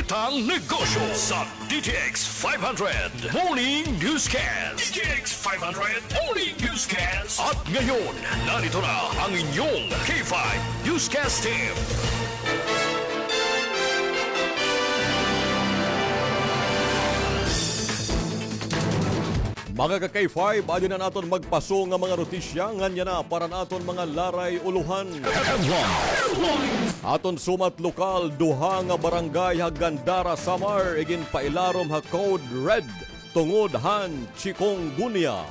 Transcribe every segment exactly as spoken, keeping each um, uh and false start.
Tang negosyo sa D T X five hundred Morning Newscast. D T X five hundred Morning Newscast. At ngayon, narito na ang inyong K five Newscast Team. Mga ka-K five, adi na an aton magpaso nga mga notisya, ngan yana para an aton mga laray ulohan. Aton sumat lokal, duha nga barangay ha Gandara, Samar, iginpailarom ha Code Red tungod han chikungunya.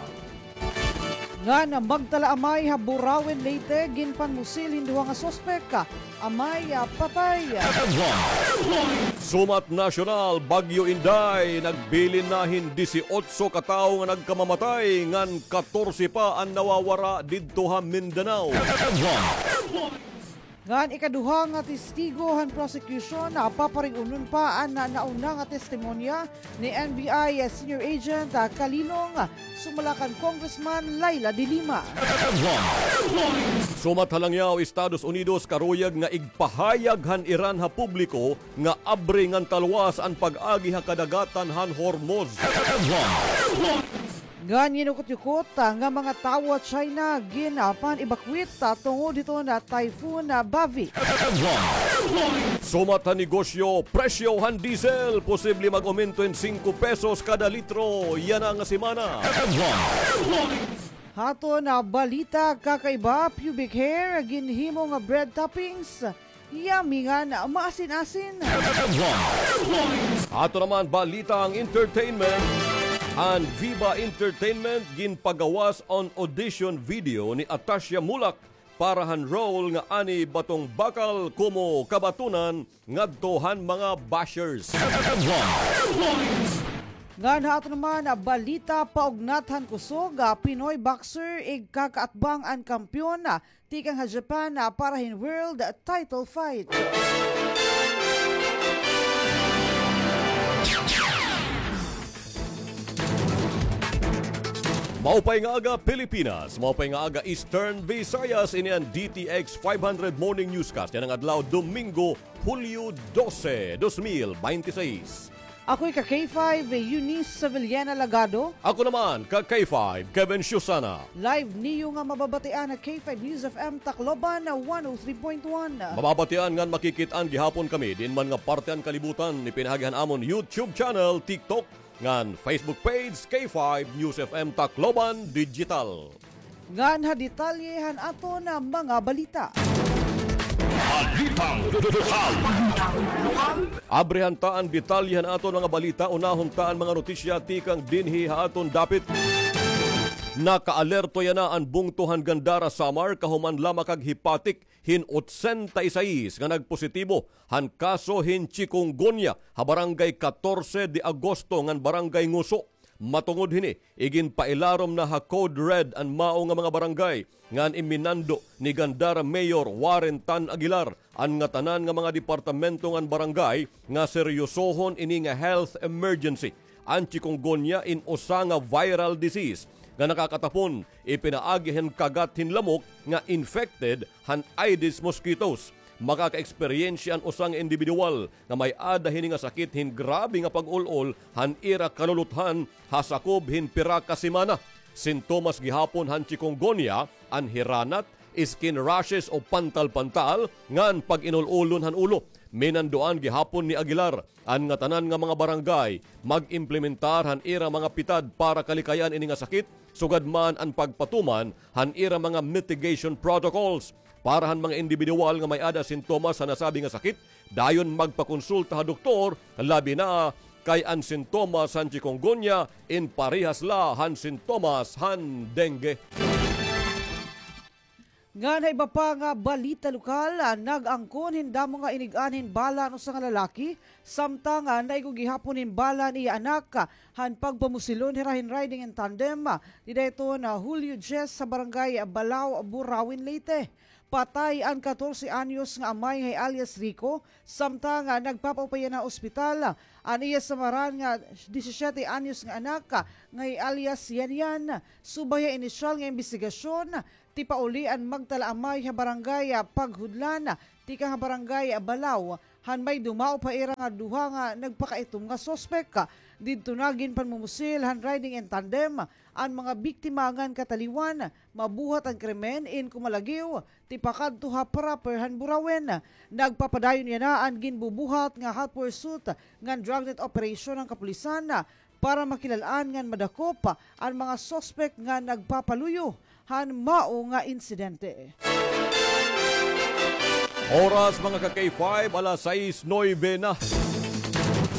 Ngan magtalaamay ha Burauen, Leyte, ginpanmusil hin duha nga suspek. Amay, ah, patay. Sumat nasyonal, Bagyo Inday, nagbilin na hin disiotso ka tawo nga nagkamamatay, ngan katorse pa an nawawara didto ha Mindanao. Ngan ikaduha nga testigo han prosecution, ah, paparig-unon pa an, ah, nauna nga testimonya ni N B I Senior Agent, ah, Kalilong, ah, sumala kan Congressman Leila de Lima. Sumat ha langyaw, Estados Unidos karuyag nga igpahayag han Iran ha publiko nga abri ngan talwas an pag-agi ha kadagatan han Hormuz. Ngan yinukotyukot, ah, nga mga tawo ha China ginpan-evacuate, ah, tungod hiton, ah, Typhoon, ah, Bavi. Sumat ha negosyo, presyo han diesel posible mag-umento hin singko pesos kada litro yana nga semana. Ha aton, ah, balita kakaiba, pubic hair ginhimo nga bread toppings. Yummy ngan maasin-asin. Ato naman balita han entertainment. An Viva Entertainment ginpagawas an audition video ni Atasha Mulak para han role nga Annie Batong Bakal komo kabatunan ngadto han mga bashers. Ngan ha ato naman, ah, balita, paugnat han kusog, ah, Pinoy boxer igkakaatbang an kampeon, ah, tikang ha Japan, ah, para hin world title fight. Maupay nga aga, Pilipinas. Maupay nga aga, Eastern Visayas. Ini an D T X five hundred Morning Newscast yana nga adlaw, Domingo, Hulyo dose, dos mil bente seis. Ako hi ka K five, Eunice Sevillana Lagado. Ako naman, ka K five, Kevin Susana. Live niyo nga mababatian ha K five News F M Tacloban, one oh three point one. Mababatian ngan makikit-an gihapon kami diin man nga parte han kalibutan, ipinahagi han amon YouTube channel, TikTok, ngan Facebook page, K five News F M Tacloban Digital. Ngan ha detalye han aton mga balita. Balitang lokal. Abrihan ta an detalye han aton mga balita, unahon ta an mga notisya tikang dinhi ha aton dapit. Nakaalerto yana an bungto han Gandara, Samar, kahuman la makaghipatik hin otsenta y seis nga nagpositibo han kaso hin chikungunya ha Barangay Catorce de Agosto ngan Barangay Nguso. Matungod hini, iginpailarom na ha Code Red an mao nga mga barangay, ngan iminando ni Gandara Mayor Warren Tan Aguilar an ngatanan nga mga departamento ngan barangay nga seryosohon ini nga health emergency. An chikungunya in usa nga viral disease nga nakakatapon ipinaagi hin kagat hin lamok nga infected han Aedes mosquitoes. Makaka-eksperyensya an usa nga indibidwal nga may-ada hini nga sakit hin grabe nga pag-ul-ol han ira kaluluthan ha sakob hin pira ka semana. Sintomas gihapon han chikungunya an hiranat, skin rashes o pantal-pantal ngan pag-inul-ulon han ulo. Minanduan gihapon ni Aguilar an ngatanan nga mga barangay mag-implementar han ira mga pitad para kalikayan ini nga sakit, sugad man an pagpatuman han ira mga mitigation protocols. Para han mga indibidwal nga may-ada sintomas han nasabi nga sakit, dayon magpakonsulta ha doktor, labi na kay an sintomas han chikungunya in parehas la han sintomas han dengue. Ngan ha iba pa nga balita lokal, ah, nag-angkon hin damo nga inig-an hin bala an usa nga lalaki, samtang, ah, naigo gihapon hin bala an iya anak, ah, han pagpamusilon hira hin riding in tandem, ah, dida hiton, ah, Hulyo diyes sa barangay, ah, Balao, Burauen, Leyte. Patay an katorse anyos nga amay nga hi alias Rico, samtang, ah, nagpapaupay yana ha ospital, ah, an iya samaran nga disisiete anyos nga anak, ah, nga hi alias Yan Yan. Subay ha inisyal nga imbestigasyon, tipauli an magtalaamay ha barangay, ah, Paghudlan, tikang ha barangay, ah, Balao, han may dumaop ha ira nga duha nga nagpakaitom nga suspek. Didto na ginpanmumusil han riding in tandem an mga biktima ngan kataliwan mabuhat an krimen in Cumalaguio, tipakadto ha proper han Burauen. Nagpapadayon yana an ginbubuhat nga hot pursuit ngan dragnet operation han kapulisan para makilal-an ngan madakop an mga suspek nga nagpapaluyo han mao nga insidente. Oras, mga ka-K five, alas sais nuebe na.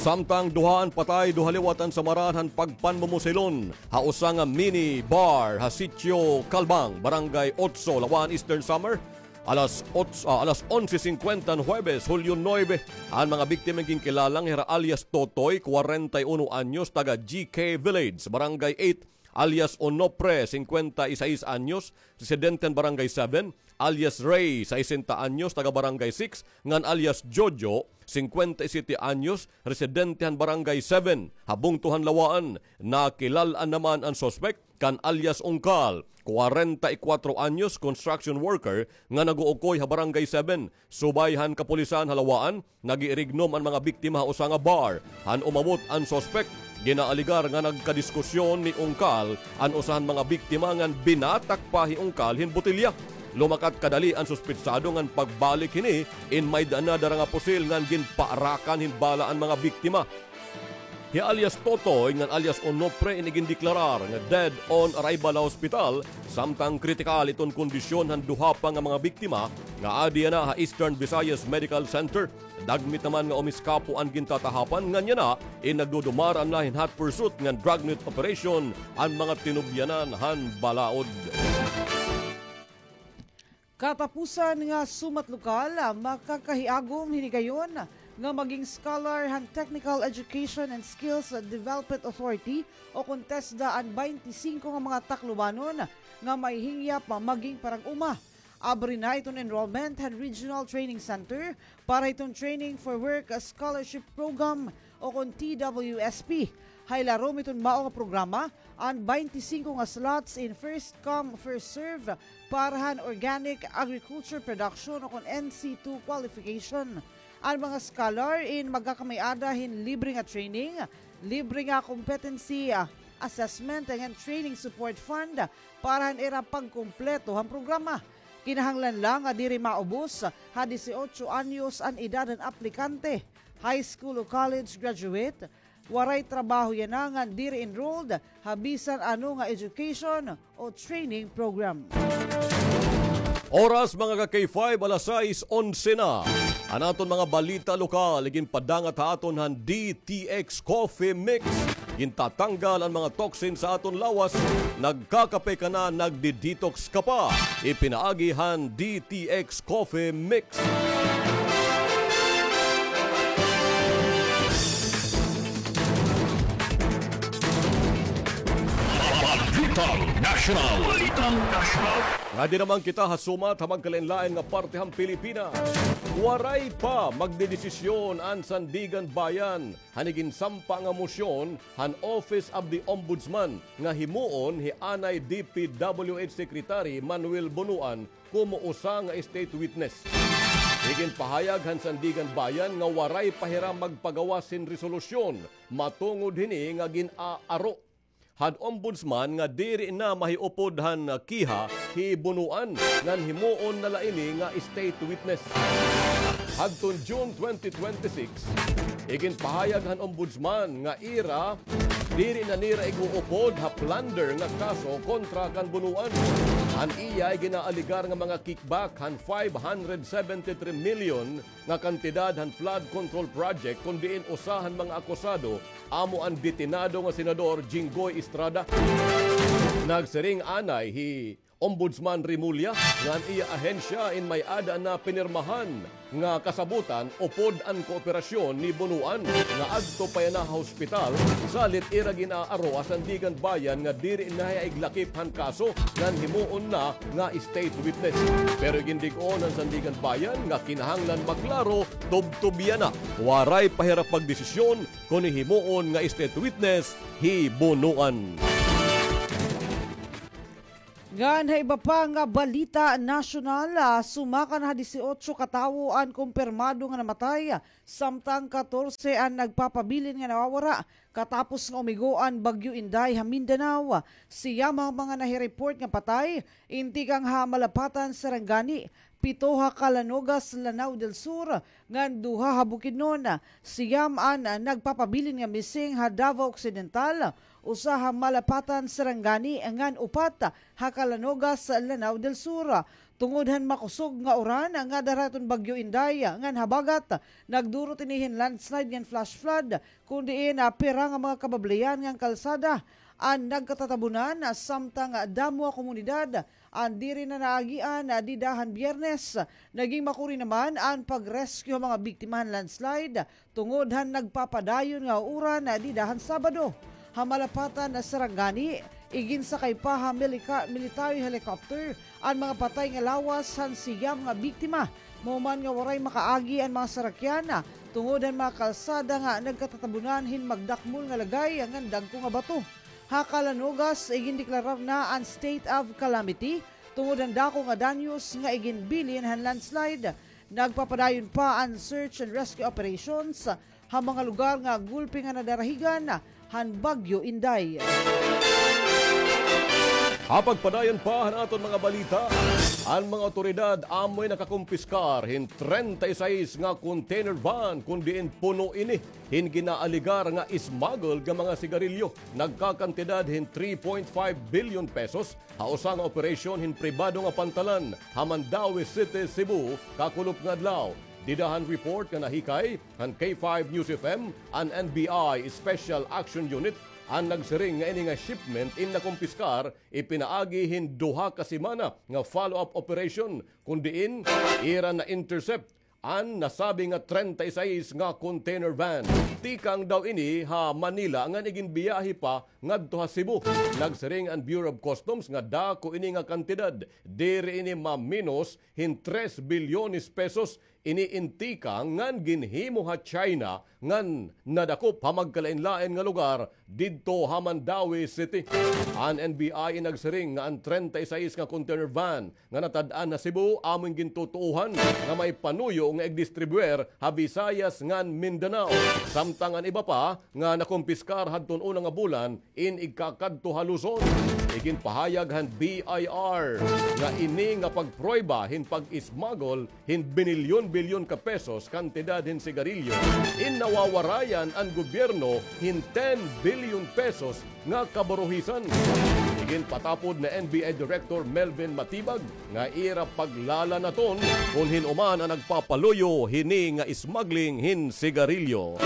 Samtang duha an patay, duha liwat an samaran han pagpanmumusilon ha usa nga mini bar ha Sitio Calbang, Barangay Otso, Laua-an, Eastern Samar. Alas otso, ah, alas onse singkwenta han Huwebes, Hulyo nuebe, an mga biktima ginkilala nga hira alias Totoy, kwarenta y uno anyos, taga G K Village, Barangay eight, alias Onofre, singkwenta y sais anyos, residente han Barangay seven, alias Ray, saisenta anyos, taga Barangay six, ngan alias Jojo, singkwenta y siyete anyos, residente han Barangay seven, ha bungto han Laua-an. Nakilal-an naman an suspek kan alias Ungkal, kwarenta y kwatro anyos, construction worker nga nag-uukoy ha Barangay seven. Subay han kapulisan ha Laua-an, nag-iirignom an mga biktima ha usa nga bar. Han umabot an suspek, ginaalegar nga nagkadiskusyon ni Ungkal an usa han mga biktima ngan binatak pa hi Ungkal hin botelya. Lumakat kadali an suspetsado ngan pagbalik hini, in may dana dara nga pusil ngan ginpaarakan hin bala an mga biktima. Hi alias Totoy ngan alias Onofre in igindeklarar nga dead on arrival ha hospital, samtang kritikal iton kondisyon han duha pa nga mga biktima nga adi yana ha Eastern Visayas Medical Center. Dagmit naman nga umiskapo an gintatahapan ngan yana in nagdudumara na hin hot pursuit ngan dragnet operation an mga tinubyanan han balaod. Katapusan nga sumat lokal, ah, makakahiagom hinigayon nga maging scholar han Technical Education and Skills Development Authority o kon TESDA an baynte singko nga mga Taclobanon nga may hingyap maging parang-uma. Abri na iton enrollment han Regional Training Center para hiton Training for Work Scholarship Program o kon T W S P. Ha ilarom hiton mao nga programa, an baynte singko nga slots in first come, first serve para han organic agriculture production o kon N C two qualification. An mga scholar in magkakamay-ada hin libre nga training, libre nga competency, ah, assessment, ngan training support fund para han ira pagkumpleto han programa. Kinahanglan la nga diri maubos ha disiotso anyos an edad han aplikante, high school o college graduate, waray trabaho yana ngan diri enrolled ha bisan ano nga education o training program. Oras, mga ka-K five, alas sais onse na. An aton mga balita lokal, iginpadangat ha aton han D T X Coffee Mix. Gintatanggal an mga toxin sa aton lawas. Nagkakape ka na, nagdi-detox ka pa. Ipinaagi han D T X Coffee Mix. Balitang Nasyonal. Balitang Nasyonal. Ngadi naman kita ha sumat ha magkalain-lain nga parte han Pilipinas. Waray pa magdedesisyon an Sandiganbayan han iginsampa nga mosyon han Office of the Ombudsman nga himuon hi anay D P W H Secretary Manuel Bonoan komo usa nga state witness. Iginpahayag han Sandiganbayan nga waray pa hira magpagawas hin resolusyon matungod hini nga gin-aaro han Ombudsman nga diri na mahiupod han kiha hi Bonoan ngan himuon na la ini nga state witness. Hadton June twenty twenty-six, iginpahayag han Ombudsman nga ira diri na nira ig-uupod ha plunder nga kaso kontra kan Bonoan. An iya iginaalegar nga mga kickback han five hundred seventy-three million nga kantidad han flood control project, kon diin usa han mga akusado amo an detenado nga Senador Jinggoy Estrada. Nagsiring anay hi Ombudsman Remulla nga an iya ahensya in may-ada na pinirmahan nga kasabotan upod an kooperasyon ni Bonoan nga adto pa yana ha hospital, salit ira gin-aaro ha Sandiganbayan nga diri na hiya iglakip han kaso ngan himuon na nga state witness. Pero igindig-on han Sandiganbayan nga kinahanglan maklaro, tubtob yana. Waray pa hira pagdesisyon kon himuon nga state witness hi Bonoan. Ngan ha iba pa nga balita nasyonal, ah, sumaka na ha disiotso ka tawo an kumpirmado nga namatay, samtang katorse an nagpapabilin nga nawawara katapos nga umigo an Bagyo Inday ha Mindanao. Siyam an mga nahi-report nga patay, in tikang ha Malapatan, Sarangani, pito ha Calanogas, Lanao del Sur, ngan duha ha Bukidnon. Siyam an nagpapabilin nga missing ha Davao Occidental, usa ha Malapatan, Sarangani, ngan upat ha Calanogas, Lanao del Sur. Tungod han makusog nga uran nga dara hiton Bagyo Inday ngan habagat, nagdurot ini hin landslide ngan flash flood, kun diin, ah, pira nga mga kabablian ngan kalsada an nagkatatabunan, samtang damo nga komunidad an diri na naagian, ah, dida han Biyernes. Naging makuri naman an pag-rescue han mga biktima han landslide tungod han nagpapadayon nga uran dida han Sabado. Ha Malapatan, Sarangani, iginsakay pa ha milika-, military helicopter an mga patay nga lawas han siyam nga biktima. Mahuman nga waray makaagi an mga sarakyan tungod han mga kalsada nga nagkatatabunan hin magdakmol nga lagay ngan dagko nga bato. Ha Calanogas, igindeklarar na an state of calamity tungod han dako nga danyos nga iginbilin han landslide. Nagpapadayon pa an search and rescue operations ha mga lugar nga gulpi nga nadarahigan han Bagyo Inday. Ha pagpadayon pa han aton mga balita, an mga awtoridad amoy nakakumpiskar hin treinta y seis nga container van kun diin puno ini hin ginaalegar nga smuggled nga mga sigarilyo, nagkakantidad hin three point five billion pesos, ha usa nga operasyon hin pribado nga pantalan ha Mandaue City, Cebu, kakulop nga adlaw. Dida han report nga nahikay han K five News F M, an N B I Special Action Unit an nagsiring nga ini nga shipment in nakumpiskar ipinaagi hin duha ka semana nga follow-up operation, kun diin ira na-intercept an nasabi nga treinta y seis nga container van. Tikang daw ini ha Manila ngan iginbiyahe pa ngadto ha Cebu. Nagsiring an Bureau of Customs nga dako ini nga kantidad. Diri ini maminos hin tres bilyones pesos. Ini in tikang ngan ginhimo ha China ngan nadakop ha magkalainlain nga lugar didto ha Mandaue City. An N B I in nagsiring nga an treinta y seis nga container van nga natad-an ha Cebu amo in gintutuohan nga may panuyo nga igdistribuer ha Visayas ngan Mindanao. Samtang an iba pa nga nakumpiskar hadton una nga bulan in igkakadto ha Luzon. Iginpahayag han B I R nga ini nga pagprueba hin pag-smuggle hin binilyon-bilyon ka pesos kantidad hin sigarilyo in nawawarayan an gobyerno hin ten billion pesos nga kaburuhisan. Iginpatapod ni N B I Director Melvin Matibag nga ira paglalanaton kon hin-o man an nagpapaluyo hini nga smuggling hin sigarilyo.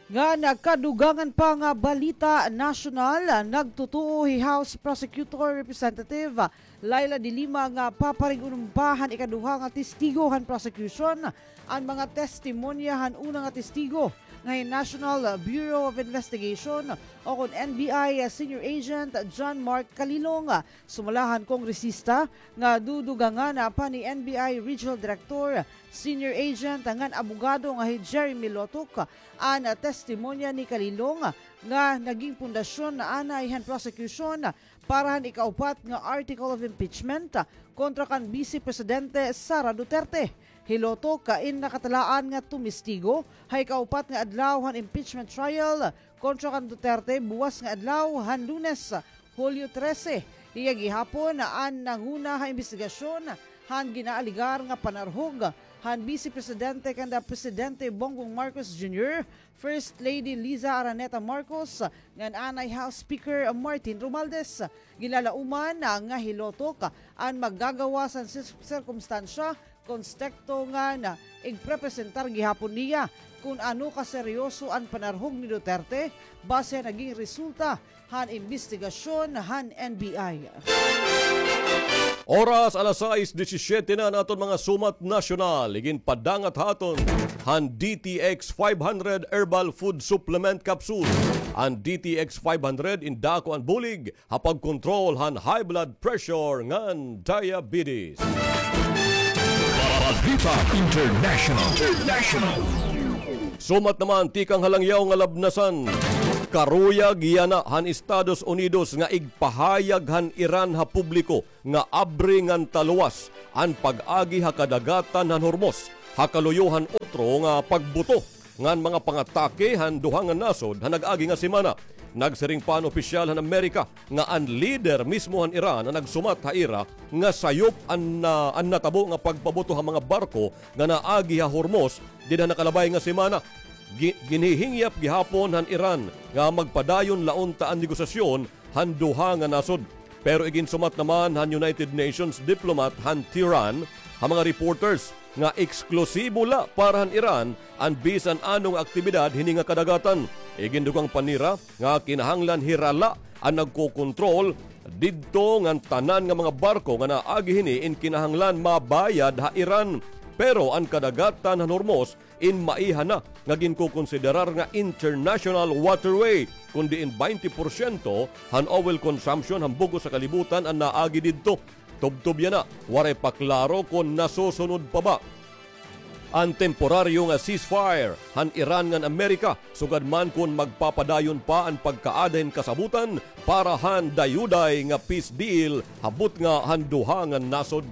Ngan ha kadugangan pa nga balita nasyonal, nagtutuo hi House Prosecutor Representative Leila de Lima nga paparig-onon pa han ikaduha nga testigo han prosecution an mga testimonya han una nga testigo nga hi National Bureau of Investigation o kon N B I Senior Agent John Mark Kalilong. Sumala han kongresista nga dudugangan pa ni N B I Regional Director, Senior Agent ngan abogado nga hi Jeremy Lotok an testimonya ni Kalilong nga naging pundasyon anay han prosecution para han ikaupat nga article of impeachment kontra kan Vice Presidente Sara Duterte. Hi Lotok in nakatalaan nga tumistigo ha ikaupat nga adlaw han impeachment trial kontra kan Duterte buwas nga adlaw han Lunes, Hulyo trese. Hiya gihapon an nanguna ha imbestigasyon han ginaalegar nga panarhog han Vice Presidente kanda Presidente Bongbong Marcos Junior, First Lady Liza Araneta Marcos, ngan anay House Speaker Martin Romualdez. Ginlalauman nga hi Lotok an maggagawas han sir-, sirkumstansya kon stekto ngan igprepresentar gihapon niya kon ano kaseryoso an panarhog ni Duterte base han naging resulta han imbestigasyon han N B I. Oras alas sais disisiete na, an aton mga sumat nasyonal. Iginpadangat ha aton han D T X five hundred Herbal Food Supplement Capsule. An D T X five hundred in dako an bulig ha pagkontrol han high blood pressure ngan diabetes. Balita International. International. Sumat naman tikang ha langyaw nga labnasan. Karuyag yana han Estados Unidos nga igpahayag han Iran ha publiko nga abri ngan taluwas an pag-agi ha kadagatan han Hormuz, ha kaluyo han utro nga pagbuto ngan mga pangatake han duha nga nasod han nag-agi nga semana. Nagsiring pa an opisyal han Amerika nga an lider mismo han Iran an nagsumat ha ira nga sayop an, ah, an natabo nga pagpabuto ha mga barko nga naagi ha Hormuz dida nakalabay nga semana. Gi-, ginhihingyap gihapon han Iran nga magpadayon la unta an negosasyon han duha nga nasod. Pero iginsumat naman han United Nations diplomat han Tehran ha mga reporters nga eksklusibo la para han Iran an bisan ano nga aktibidad hini nga kadagatan. Igindugang pa nira nga kinahanglan hira la an nagkokontrol didto ngan tanan nga mga barko nga naagi hini in kinahanglan mabayad ha Iran. Pero an kadagatan han Hormuz in maiha na nga ginkokonsiderar nga international waterway, kun diin baynte porsyento han oil consumption han bug-os nga kalibutan an naagi didto. Tubtob yana, waray pa klaro kon nasusunod pa ba an temporaryo nga ceasefire han Iran ngan Amerika, sugad man kon magpapadayon pa an pagkaada hin kasabotan para han dayuday nga peace deal ha butnga han duha nga nasod.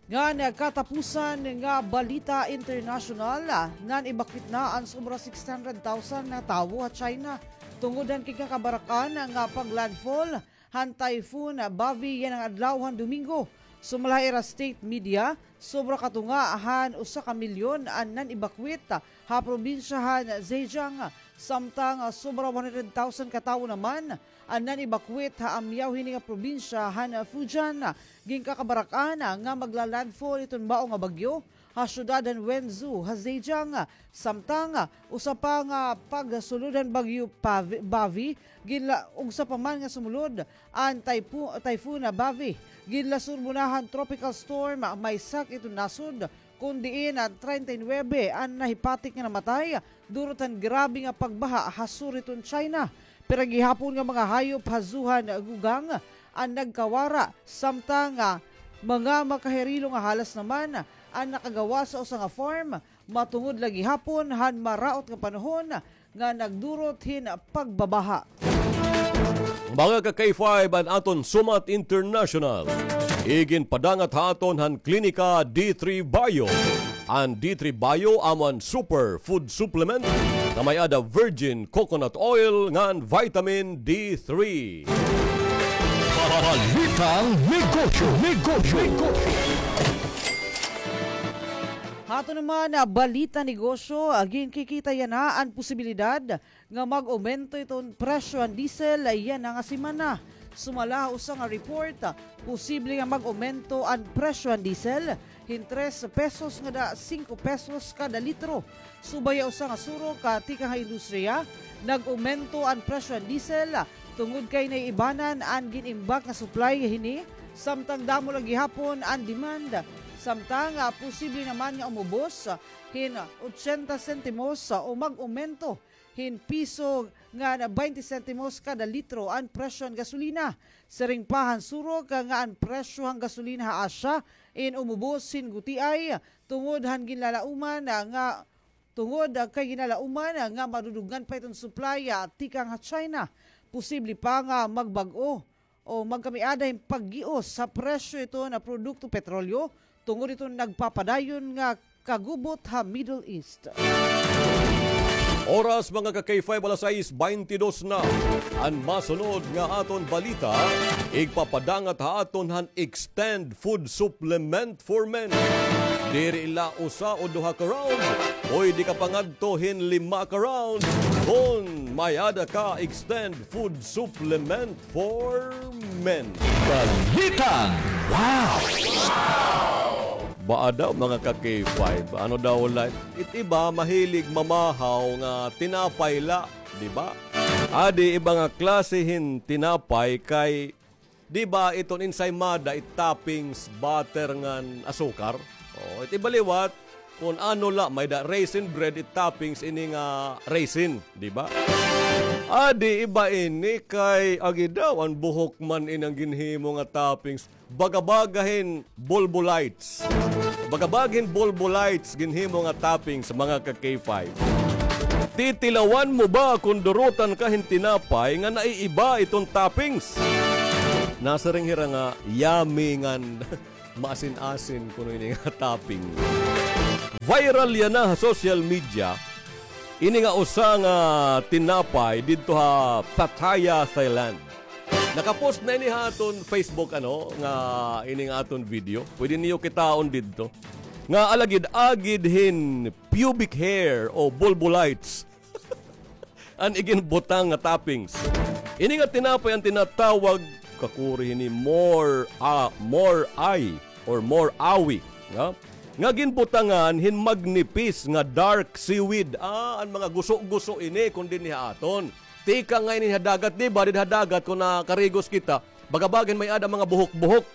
Ngan katapusan nga balita internasyonal, nan-evacuate na an sobra six hundred thousand nga tawo ha China tungod han ginkakabarak-an nga pag-landfall han Typhoon Bavi yana nga adlaw han Domingo. Sumala ha ira state media, sobra katunga han usa ka milyon an nan-evacuate ha probinsya han Zhejiang, samtang sobra one hundred thousand ka tawo naman an nan-evacuate ha amyaw hini nga probinsya han Fujian. Ginkakabarak-an nga magla-landfall iton mao nga bagyo ha syudad han Wenzhou ha Zhejiang, samtang usa pa nga pagsulod han bagyo Pavi-, Bavi, ginla-, ugsa pa man nga sumulod an typho-, Typhoon Bavi. Ginlasurbo na han tropical storm Maisak iton nasod, kun diin treinta y nuebe an nahipatik nga namatay durot han grabe nga pagbaha ha sur hiton China. Pira gihapon nga mga hayop ha zoo han Gugang an nagkawara, samtang, ah, mga makahirilong nga halas naman an nakagawas ha usa nga farm, matungod la gihapon han maraot nga panahon nga nagdurot hin pagbabaha. Mga ka-K five, an aton sumat international. Iginpadangat ha aton han Klinika D three Bio. An D three Bio amo an super food supplement nga may-ada virgin coconut oil ngan vitamin D three. Balitang negosyo, negosyo, negosyo. Ha aton naman, ah, balita negosyo, ah, ginkikita yana an posibilidad nga mag-omento iton presyo han diesel yana nga semana. Sumala ha usa nga report, posible nga mag-omento an presyo han diesel hin tres pesos ngada singko pesos kada litro. Subay ha usa nga surok, ah, tikang ha industriya, nag-omento an presyo han diesel tungod kay naiibanan an gin-imbak nga supply hini, samtang damo la gihapon an demand. Samtang, ah, posible naman nga umubos hin ochenta sentimos, ah, o mag-omento hin piso ngan baynte sentimos kada litro an presyo han gasolina. Siring pa han surok nga an presyo han gasolina ha Asia in umubos hin gutiay tungod han ginlalauman nga, tungod kay ginlalauman nga madudugngan pa iton supply tikang ha China. Posible pa nga magbag-o o magkamiada hin paggios ha presyo iton produkto petrolyo tungod iton nagpapadayon nga kagubot ha Middle East. Oras, mga ka-K five, alas sais baynte dos na. An masunod nga aton balita, igpapadangat ha aton han Extend Food Supplement for Men. Diri la usa o duha ka round, pwede ka pa ngadto hin lima ka round kon may-ada ka Extend Food Supplement for Men. Balitang wow! Baa daw, mga ka-K five? Ano daw la? It iba mahilig mamahaw nga tinapay la, di ba? Adi iba nga klase hin tinapay kay, di ba, iton ensaymada, it toppings, butter ngan asukar. O, it iba liwat, kon ano la, may-ada raisin bread, it toppings ini nga raisin, di ba? Adi iba ini kay agi daw, an buhok man ini an ginhimo nga toppings. Baga-baga hin Bolbolites. Baga-baga hin Bolbolites ginhimo nga toppings, mga ka-K five. Titilawan mo ba kon durutan ka hin tinapay nga naiiba iton toppings? Nasiring hira nga yummy ngan maasin-asin kuno ini nga topping. Viral yana ha social media ini nga usa nga tinapay didto ha Pattaya, Thailand. Nakapost na ini ha aton Facebook, ano, nga ini nga aton video. Pwede niyo kitaon didto. Nga alagid-agid hin pubic hair o bulbulites an iginbutang nga toppings. Ini nga tinapay an tinatawag kakuri hini more, ah, more ay or more awi, nga, nga ginbutangan hin magnipis nga dark seaweed. Ah, an mga guso-guso ini kon dinhi ha aton. Tikang nga ini ha dagat, di ba? Didto ha dagat kon nakarigos kita, baga-baga hin may-ada mga buhok-buhok.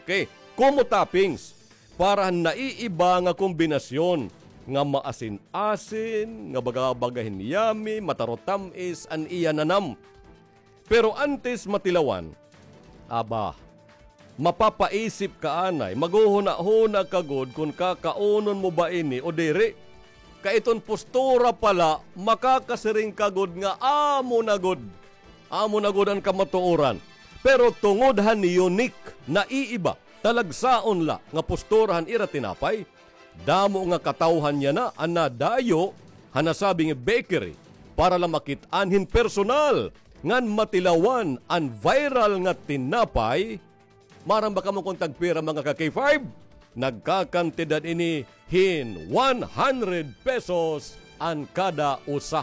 Okay. Kumo toppings para han naiiba nga kombinasyon nga maasin-asin, nga baga-baga hin yummy, mataro tam-is an iya nanam. Pero antes matilawan, aba, mapapaisip ka anay, maghuhuna-huna ka gud kon kakaunon mo ba ini o diri. Kay iton postura pa la, makakasiring ka gud nga amo na gud. Amo na gud an kamatuoran. Pero tungod han unique, naiiba, talagsaon la nga postura han ira tinapay, damo nga katawhan yana an nadayo ha nasabi nga bakery para la makit-an hin personal ngan matilawan an viral nga tinapay. Maaram ba kamo kon tagpira, mga ka-K five? Nagkakantidad ini hin one hundred pesos an kada usa.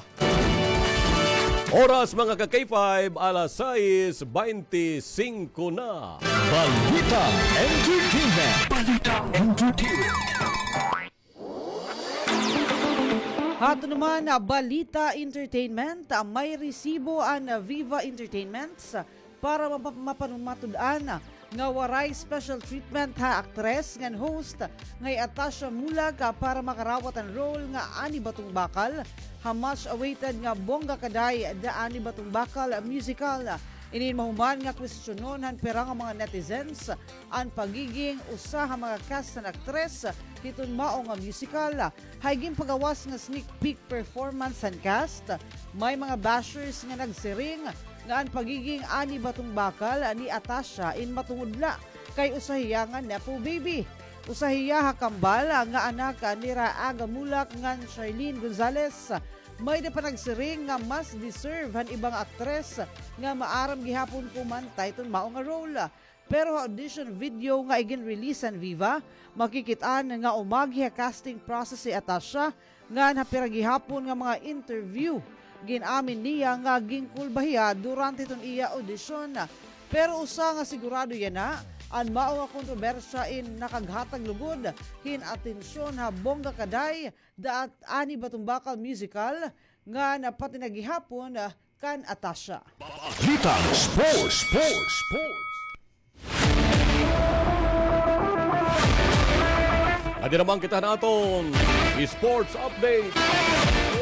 Oras, mga ka-K five, alas sais baynte singko na. Balitang Entertainment. Balitang Entertainment. Ato naman, ah, balita entertainment, ah, may resibo an, ah, Viva Entertainments, ah, para mapa-, mapanumatud-an, ah, nga waray special treatment ha aktres ngan host nga hi Atasha Mulak, ah, para makarawat an role nga Ani Batong Bakal ha much awaited nga Bongga Ka Day, The Ani Batong Bakal Musical. Ini in mahuman nga kwestiyonon han pira nga mga netizens an pagiging usa ha mga cast han aktres hiton mao nga musical. Hay ginpagawas nga sneak peek performance han cast, may mga bashers nga nagsiring nga an pagiging Ani Batong Bakal ni Atasha in matungod la kay usa hiya nga nepo baby. Usa hiya ha kambal nga anak nira Aga Mulak ngan Charlene Gonzalez. May-ada pa nagsiring nga mas deserve han iba nga aktres nga maaram gihapon kumanta hiton mao nga role. Pero ha audition video nga igin-release han Viva, makikit-an nga umagi ha casting process hi Atasha, ngan ha pira gihapon nga mga interview, gin-amin niya nga ginkulba hiya durante hiton iya audition. Pero usa nga sigurado yana, an mao nga kontrobersya in nakaghatag lugod hin atensyon ha Bongga Ka Day, The Ani Batong Bakal Musical, ngan pati na gihapon, ah, kan Atasha. Balitang Sports, Sports, Sports. Adi naman kita naton sports update.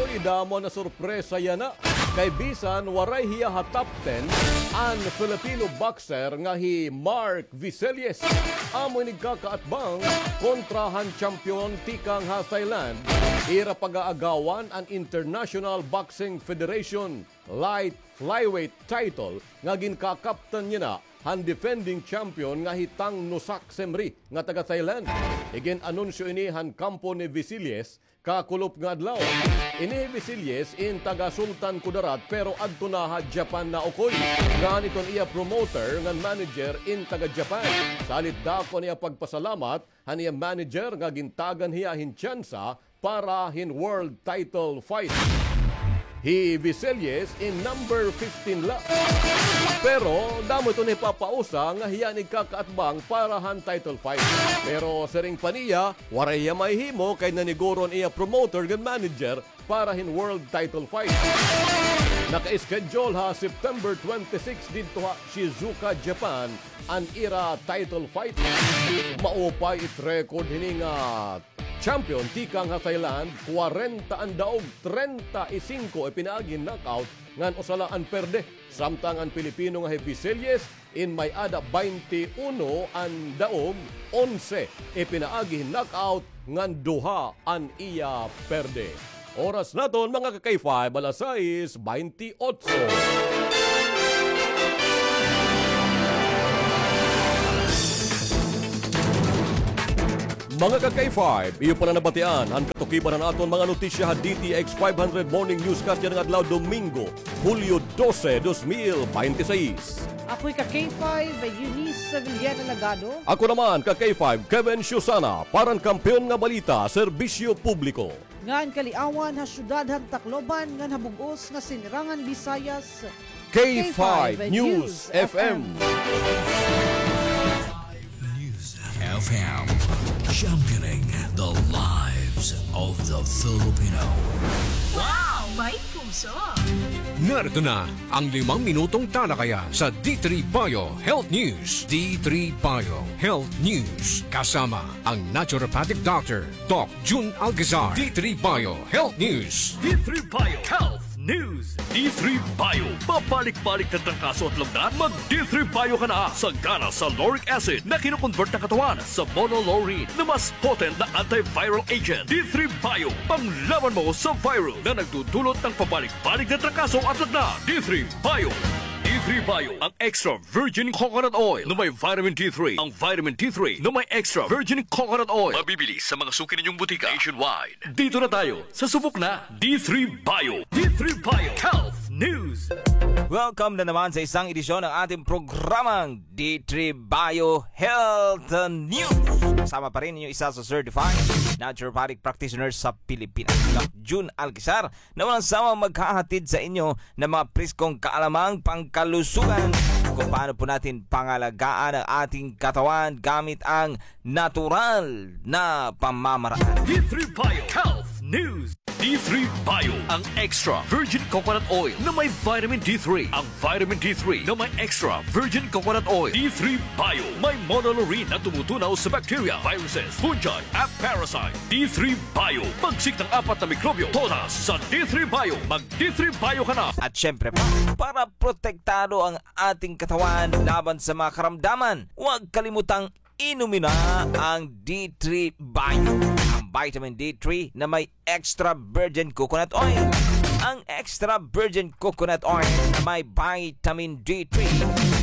Uy, damo na sorpresa yana. Kay bisan waray hiya ha top ten, an Filipino boxer nga hi Mark Viselies amo ini nagkakaatbang kontra han champion tikang ha Thailand. Ira pag-aagawan an International Boxing Federation light flyweight title nga ginkakaptan niya na han defending champion nga hi Tang Nosak Semri nga taga Thailand. Igin-anunsyo ini han kampo ni Viselies kakulop nga adlaw. Ini hi Viselies in taga Sultan Kudarat pero adto na ha Japan naukoy. Ngan iton iya promoter ngan manager in taga Japan. Salit dako an iya pagpasalamat han iya manager nga gintagan hiya hin tsansa para hin world title fight. Hi Viselies in number fifteen la. Pero damo ito nahipapausa nga hiya an igkakaatbang para han title fight. Pero siring pa niya, waray hiya mahihimo kay naniguro an iya promoter ngan manager para hin world title fight. Naka-schedule ha September twenty-six didto ha Shizuoka, Japan, an ira title fight. Maupay it record hini nga champion tikang ha Thailand, kwarenta an daog, treinta y cinco ipinaagi hin knockout, ngan usa la an perde. Samtang an Pilipino nga hi Viselies in may-ada baynte uno an daog, onse ipinaagi hin knockout, ngan duha an iya perde. Oras naton, mga ka-K five, alas sais baynte otso. Mga ka-K five, iyo pa na nabatian an katukiban han aton mga notisya ha D T X five hundred Morning Newscast yana nga adlaw, Domingo, Hulyo dose, dos mil baynte sais. Ako hi ka-K five, Eunice Villena Lagado. Ako naman, ka-K five, Kevin Susana, para han Kampeon nga Balita, Serbisyo Publiko. Ngan kaliawan ha syudad han Tacloban ngan ha bug-os nga Sinirangan Visayas, K five News F M. News F M, championing the lives of the Filipino. Wow! May puso! Narito na ang limang minutong talakayan sa D three Bio Health News. D three Bio Health News, kasama ang naturopathic doctor, Doc Jun Alcazar. D three Bio Health News. D three Bio Health News. D three Bio. Pabalik-balik na trangkaso at lagnat? Mag D three Bio ka na. Sagana sa lauric acid na kino-convert ng katawan sa monolaurin na mas potent na antiviral agent. D three Bio. Panglaban mo sa virus na nagdudulot ng pabalik-balik na trangkaso at lagnat. D three Bio. D three Bio. Ang extra virgin coconut oil na may vitamin D three. Ang vitamin D three na may extra virgin coconut oil. Mabibili sa mga suki ninyong butika nationwide. Dito na tayo sa subok na D three Bio. D three Bio Health News. Welcome na naman sa isang edisyon ng ating programang D three Bio Health News. Kasama pa rin ninyo isa sa certified naturopathic practitioner sa Pilipinas, Doc Jun Alcazar, na walang sawang maghahatid sa inyo ng mga preskong kaalamang pangkalusugan kung paano po natin pangalagaan ang ating katawan gamit ang natural na pamamaraan. D three Bio Health News. D three Bio, ang extra virgin coconut oil na may vitamin D three. Ang vitamin D three na may extra virgin coconut oil. D three Bio, may monolaurin na tumutunaw sa bacteria, viruses, fungi, at parasite. D three Bio, pagsik ng apat na mikrobyo, todas sa D three Bio. Mag D three Bio ka na. At syempre pa, para protektado ang ating katawan laban sa mga karamdaman, huwag kalimutang inumin na ang D three Bio, ang vitamin D three na may extra virgin coconut oil. Ang extra virgin coconut oil na may vitamin D three,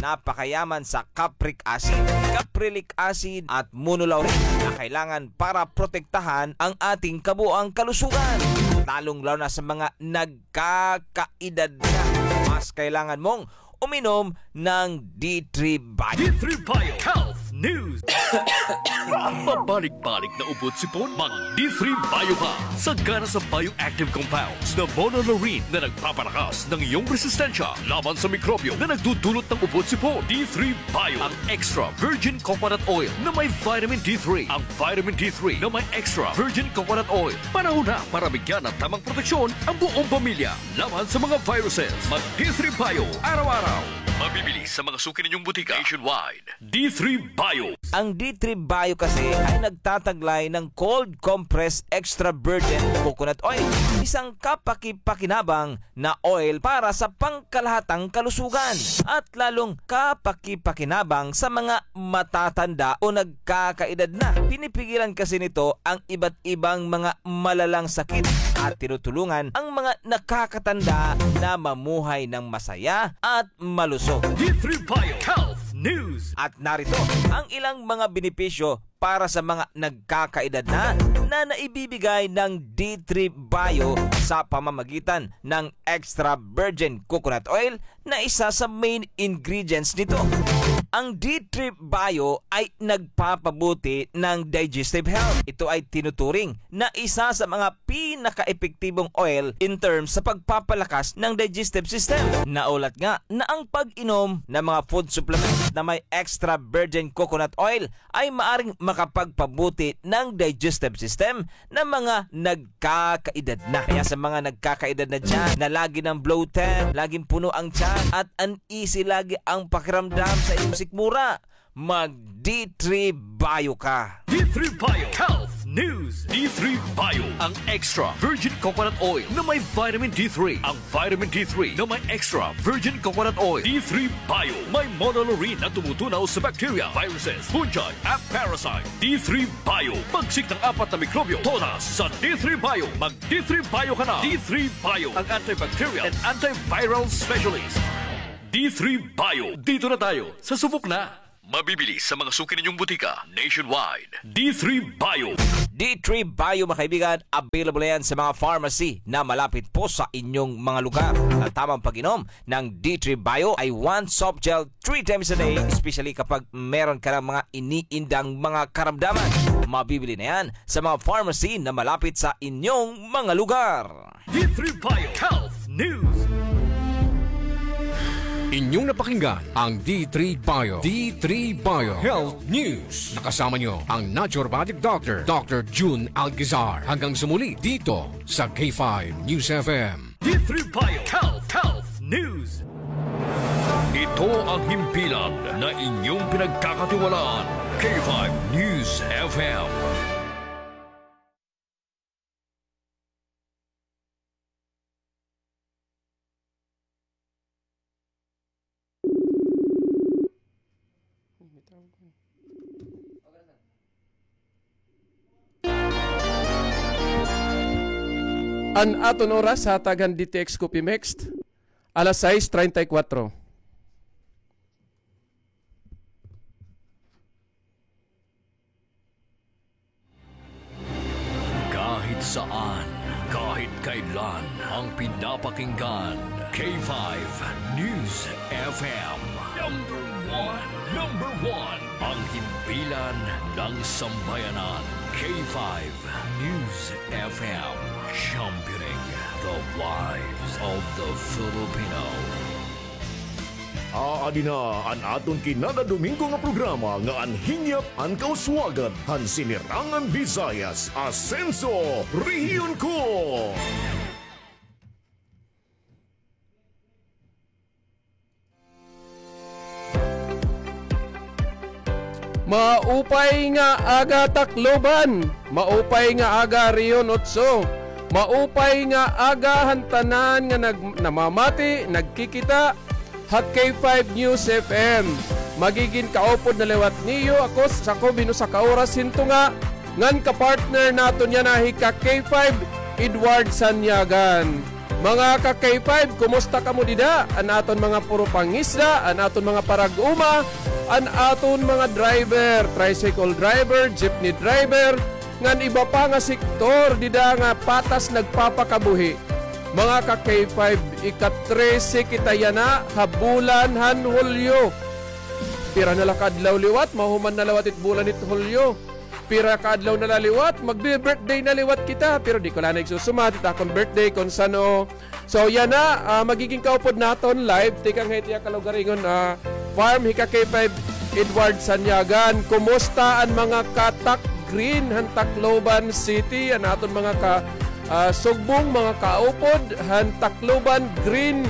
napakayaman sa capric acid, caprylic acid at monolaurin na kailangan para protektahan ang ating kabuoang kalusugan, lalong-lalo na sa mga nagkakaedad na. Mas kailangan mong uminom ng D three Bio. D three Bio Health News. Pabalik-balik na ubo at sipon? Mag D three Bio ka. Sagana sa bioactive compounds na monolaurin na nagpapalakas ng iyong resistensya laban sa mikrobyo na nagdudulot ng ubo at sipon. D three Bio, ang extra virgin coconut oil na may vitamin D three. Ang vitamin D three na may extra virgin coconut oil. Panahon na para bigyan ng tamang proteksyon ang buong pamilya laban sa mga viruses. Mag D three Bio araw-araw. Mabibili sa mga suki ninyong butika nationwide. D three Bio. Ang D three Bio kasi ay nagtataglay ng cold compressed extra virgin coconut oil, isang kapaki-pakinabang na oil para sa pangkalahatang kalusugan at lalong kapaki-pakinabang sa mga matatanda o nagkakaedad na. Pinipigilan kasi nito ang iba't ibang mga malalang sakit at tinutulungan ang mga nakakatanda na mamuhay ng masaya at malusog. D three Bio Health News. At narito ang ilang mga benepisyo para sa mga nagkakaedad na, na naibibigay ng D three Bio sa pamamagitan ng extra virgin coconut oil na isa sa main ingredients nito. Ang D three Bio ay nagpapabuti ng digestive health. Ito ay tinuturing na isa sa mga pinakaepektibong oil in terms sa pagpapalakas ng digestive system. Naulat nga na ang pag-inom ng mga food supplement na may extra virgin coconut oil ay maaring makapagpabuti ng digestive system ng mga nagkakaedad na. Kaya sa mga nagkakaedad na dyan na lagi ng bloated, laging puno ang tiyan at uneasy lagi ang pakiramdam sa inyong sikmura, mag D three Bio ka. D three Bio Health News. D three Bio, ang extra virgin coconut oil na may vitamin D three. Ang vitamin D three na may extra virgin coconut oil. D three Bio, may monolaurin na tumutunaw sa bacteria, viruses, fungi, at parasite. D three Bio, pagsik ng apat na mikrobyo, todas sa D three Bio. Mag D three Bio ka na. D three Bio, ang antibacterial and antiviral specialist. D three Bio, dito na tayo, sa subok na. Mabibili sa mga suki ninyong butika nationwide. D three Bio. D three Bio, mga kaibigan, available na yan sa mga pharmacy na malapit po sa inyong mga lugar. At tamang pag-inom ng D three Bio ay one soft gel three times a day, especially kapag meron ka ng mga iniindang mga karamdaman. Mabibili na yan sa mga pharmacy na malapit sa inyong mga lugar. D three Bio Health News. Inyong napakinggan ang D three Bio, D three Bio Health News. Nakasama nyo ang naturopathic doctor, Doctor Jun Alcazar. Hanggang sa muli dito sa K five News F M. D three Bio Health, Health News. Ito ang himpilan na inyong pinagkakatiwalaan. K five News F M. An aton oras sa hatag han D T X Coffee Mix, alas sais treinta y cuatro. Kahit saan, kahit kailan, ang pinapakinggan, K five News F M. Number one, number one, ang himpilan ng sambayanan, K five News F M, championing the lives of the Filipino. Aadi na an aton kinada Domingo nga programa nga an hinyap an kauswagan han Sinirangan Visayas, Asenso Rehiyon Ko. Maupay nga aga, Tacloban. Maupay nga aga, Rehiyon Otso. Maupay nga aga han tanan nga nag-, namamati, nagkikita ha K five News F M. Magigin kaupod na liwat niyo ako sa ko binusa ka oras hinto nga ngan ka-partner naton yana hi ka K five, Edward Sanyagan. Mga ka K five, kumusta kamo dida? An aton mga puro pangisda, an aton mga parag-uma, an aton mga driver, tricycle driver, jeepney driver, ngan iba pa nga sektor dida nga patas nagpapakabuhi. Mga ka K five, ika-trese kita yana ha bulan han Hulyo. Pira na la ka adlaw liwat, mahuman na liwat it bulan hit Hulyo. Pira ka adlaw na la liwat, magbi-birthday na liwat kita. Pero di ko la na igsusumat it akon birthday kon san-o. So, yana, ah, magigin kaupod naton live tikang ha iya kalugaringon, ah, farm, hi ka K five Edward Sanyagan. Kumusta an mga ka-Tac Green han Tacloban City, an aton mga ka, ah, sugbong, mga kaupod han Tacloban Green,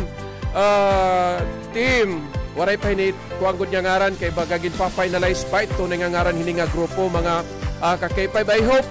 ah, team? Waray pa hini kuan gud nga ngaran kay baga ginpa-finalize pa it tunay nga ngaran hini nga grupo, mga, ah, ka K five. I hope,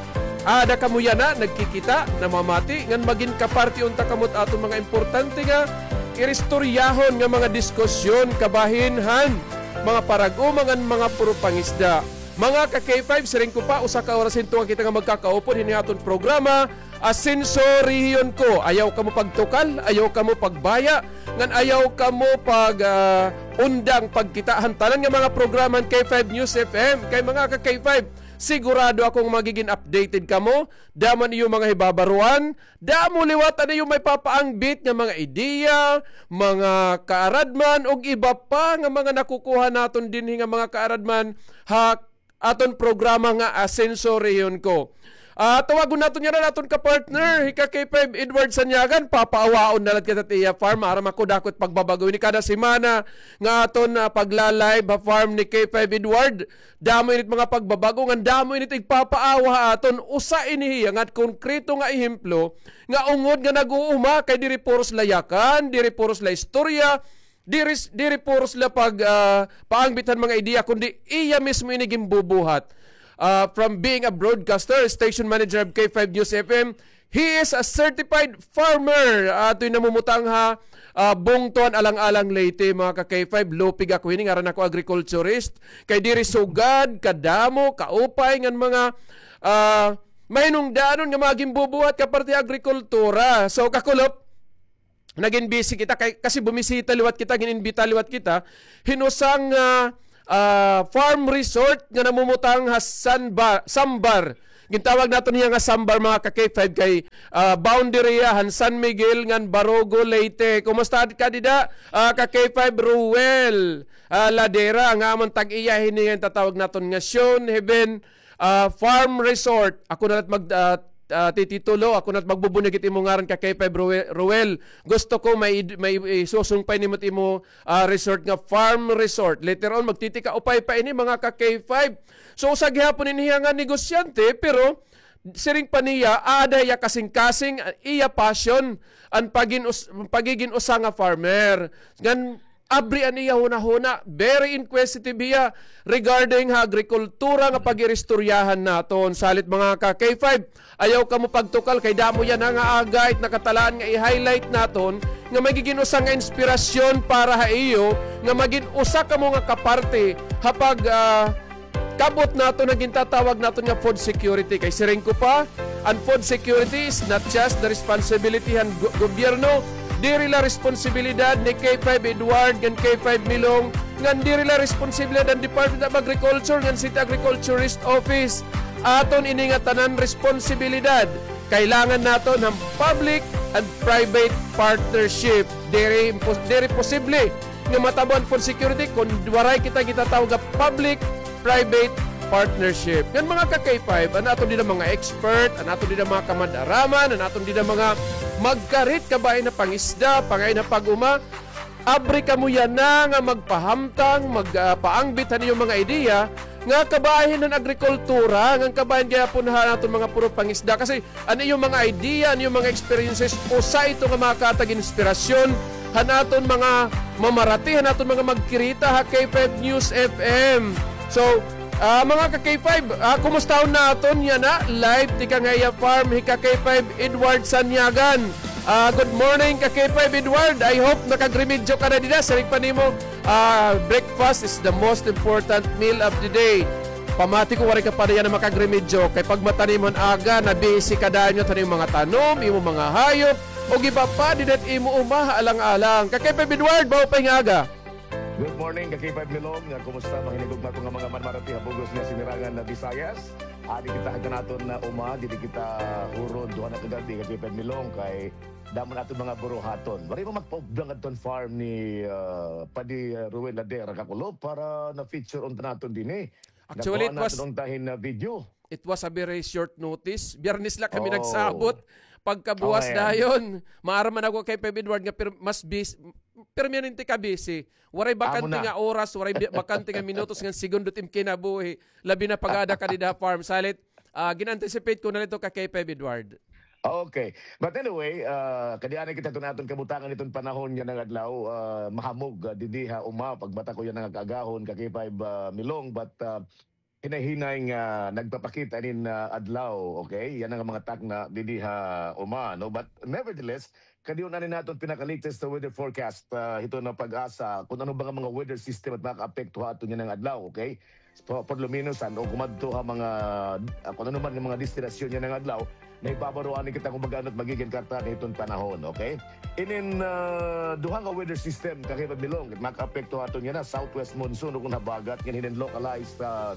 ah, aada kamo yana, nagkikita, namamati, ngan magin kaparte unta kamo it aton mga importante nga iristoryahon nga mga diskusyon kabahin han mga parag-uma ngan mga puro pangisda. Mga ka K five, siring ko pa, usa ka oras hinto nga kita nga magkakaupod hini aton programa, Asenso Rehiyon Ko. Ayaw kamo pagtukal, ayaw kamo pagbaya, ngan ayaw kamo pag, ah, undang pagkita han tanan nga mga programa han K five News F M. Kay mga ka K five, sigurado ako nga magigin updated kamo. Damo an iyo mga hibabaruan, damo liwat an iyo maipapaangbit nga mga ideya, mga kaaradman, ug iba pa nga mga nakukuha naton dinhi nga mga kaaradman ha aton programa nga Asenso Rehiyon Ko. Ah, tawagon naton yana an aton ka-partner, hi ka K five Edward Sanyagan, papaawaon na la kita it iya farm, aram ako dako it pagbabag-o ini kada semana nga aton, ah, pagla-live ha farm ni K five Edward. Damo ini it mga pagbabag-o, ngan damo ini it igpapaawa ha aton. Usa ini hiya nga konkreto nga ehemplo nga ungod nga nag-uuma kay diri puros la yakan, diri puros la istorya, Diri, diri puros la pag, ah, paangbit han mga ideya, kundi iya mismo ini ginbubuhat. ah, from being a broadcaster, station manager of K five News F M, he is a certified farmer. Ah, ato'y namumutang ha, ah, bungto han Alang-alang, Leyte, mga ka-K five. Lupig ako hini, ngaran ako agriculturist. Kay diri sugad kadamo, kaupay ngan mga, ah, mahinungdanon nga mga ginbubuhat ka parte ha agrikultura. So, kakulop, nagin busy kita kay, kasi bumisita liwat kita, gin-imbita liwat kita hin usa nga, ah, farm resort nga namumutang ha Sanba-, Sambar. Gintawag naton hiya nga Sambar, mga ka-K five, kay, ah, boundary hiya han San Miguel ngan Barugo, Leyte. Kumusta ka dida, ah, ka-K five Ruel, ah, Ladera, nga amon tag-iya hini nga tatawag naton nga Sean Heaven, ah, Farm Resort. Ako na lat mag, ah, ah, tititulo, ako na lat magbubunyag it imo ngaran, ka-K five Rue-, Ruel. Gusto ko may id-, may isusungpay nimo it imo, ah, resort nga farm resort. Later on, magtitikaupay pa ini, mga ka-K five. So, usa gihapon ini hiya nga negosyante, pero siring pa niya, aada hiya kasingkasing, ah, iya passion, an pagin-, us-, pagigin usa nga farmer. Ngan, abri an iya hunahuna, very inquisitive hiya regarding ha agrikultura nga pag-iristoryahan naton. Salit, mga ka-K five, ayaw kamo pagtukal kay damo yana nga aga it nakatalaan nga i-highlight naton nga magigin usa nga inspirasyon para ha iyo nga magin usa kamo nga kaparte ha pag, ah, kab-ot naton nga gintatawag naton nga food security. Kay siring ko pa, an food security is not just the responsibility han go-, gobyerno. Diri la responsibilidad ni K five Edward ngan K five Milong, ngan diri la responsibilidad han Department of Agriculture ngan City Agriculturist Office. Aton ini nga tanan responsibilidad. Kailangan naton han public and private partnership. Diri impos-, diri posible nga matabo an food security kon waray kita gintatawag nga public private partnership. Ngan, mga ka-K five, an aton dida mga expert, an aton dida mga kamad-araman, an aton dida mga magkarit kabahin ha pangisda, pangain ha pag-uma, abri kamo yana nga magpahamtang, mag, ah, paangbit han iyo mga ideya nga kabahin han agrikultura, ngan kabahin gihapon han aton mga puro pangisda. Kasi an iyo mga idea, an iyo mga experiences, usa ito nga makatag inspirasyon han aton mga mamarati, han aton mga magkirita ha K five News F M. So, ah, mga ka-K five, ah, kumustahon naton yana live tikang ha iya farm hi ka-K five Edward Sanyagan. Ah, good morning, ka-K five Edward. I hope nakagremedyo ka na dida. Siring pa nimo, ah, breakfast is the most important meal of the day. Pamati ko waray ka pa yana makagremedyo, kay pagmata nimo han aga, nabisi ka dayon ngadto han imo mga tanom, imo mga hayop, ug iba pa, dida ha imo uma ha Alang-alang. Ka-K five Edward, maupay nga aga. Good morning, ka-K five Milong. Nga, kumusta? Mahinigugma ko nga mga manmarati ha bug-os nga sinirangan nga Visayas. Adi kita ha aton nga uma, didi kita huron, duha na ka gab-i, ka-K five Milong, kay damo an aton mga buruhaton. Waray mo magpaupdan ngadto han farm ni, ah, Padi, ah, Ruel Ladera, kakulop, para na-feature unta naton dinhi. Actually, it was, nakuha naton unta hin, ah, video. It was a very short notice. Biyernes la kami nagsabot. Pagkabuwas dayon, maaram man ako kay Pep Edward nga pir-, mas bis-, permanente ka busy. Waray bakante nga oras, waray bi-, bakante nga minutos ngan segundo it im kinabuhi. Labi na pag-aada ka dida ha farm. Salit, ah, gin-anticipate ko na la ito ka kay Pep Edward. Okay. But anyway, ah, kadi anay kita hiton aton kabutangan hiton panahon yana nga adlaw, ah, mahamog, ah, didi ha uma, pagmata ko yana nga kaagahon, ka K five, ah, Milong, but, ah, hinay-hinay nga nagpapakita inin, ah, adlaw, okay? Yana nga mga takna didi ha uma, no? But nevertheless, kadi anay naton pinaka-latest na weather forecast, ah, hiton PAGASA, kun ano ba nga mga weather system it makaapekto ha aton yana nga adlaw, okay? So, por lo menos, ano, kumadto ha mga, ah, kun ano man nga mga destinasyon yana nga adlaw, nahibabaro anay kita kon ba-an it magigin karta hiton panahon, okay? Inin, ah, duha nga weather system, ka K five Milong, it makaapekto ha aton yana, southwest monsoon, ukon habagat, ngan hinin localized, ah,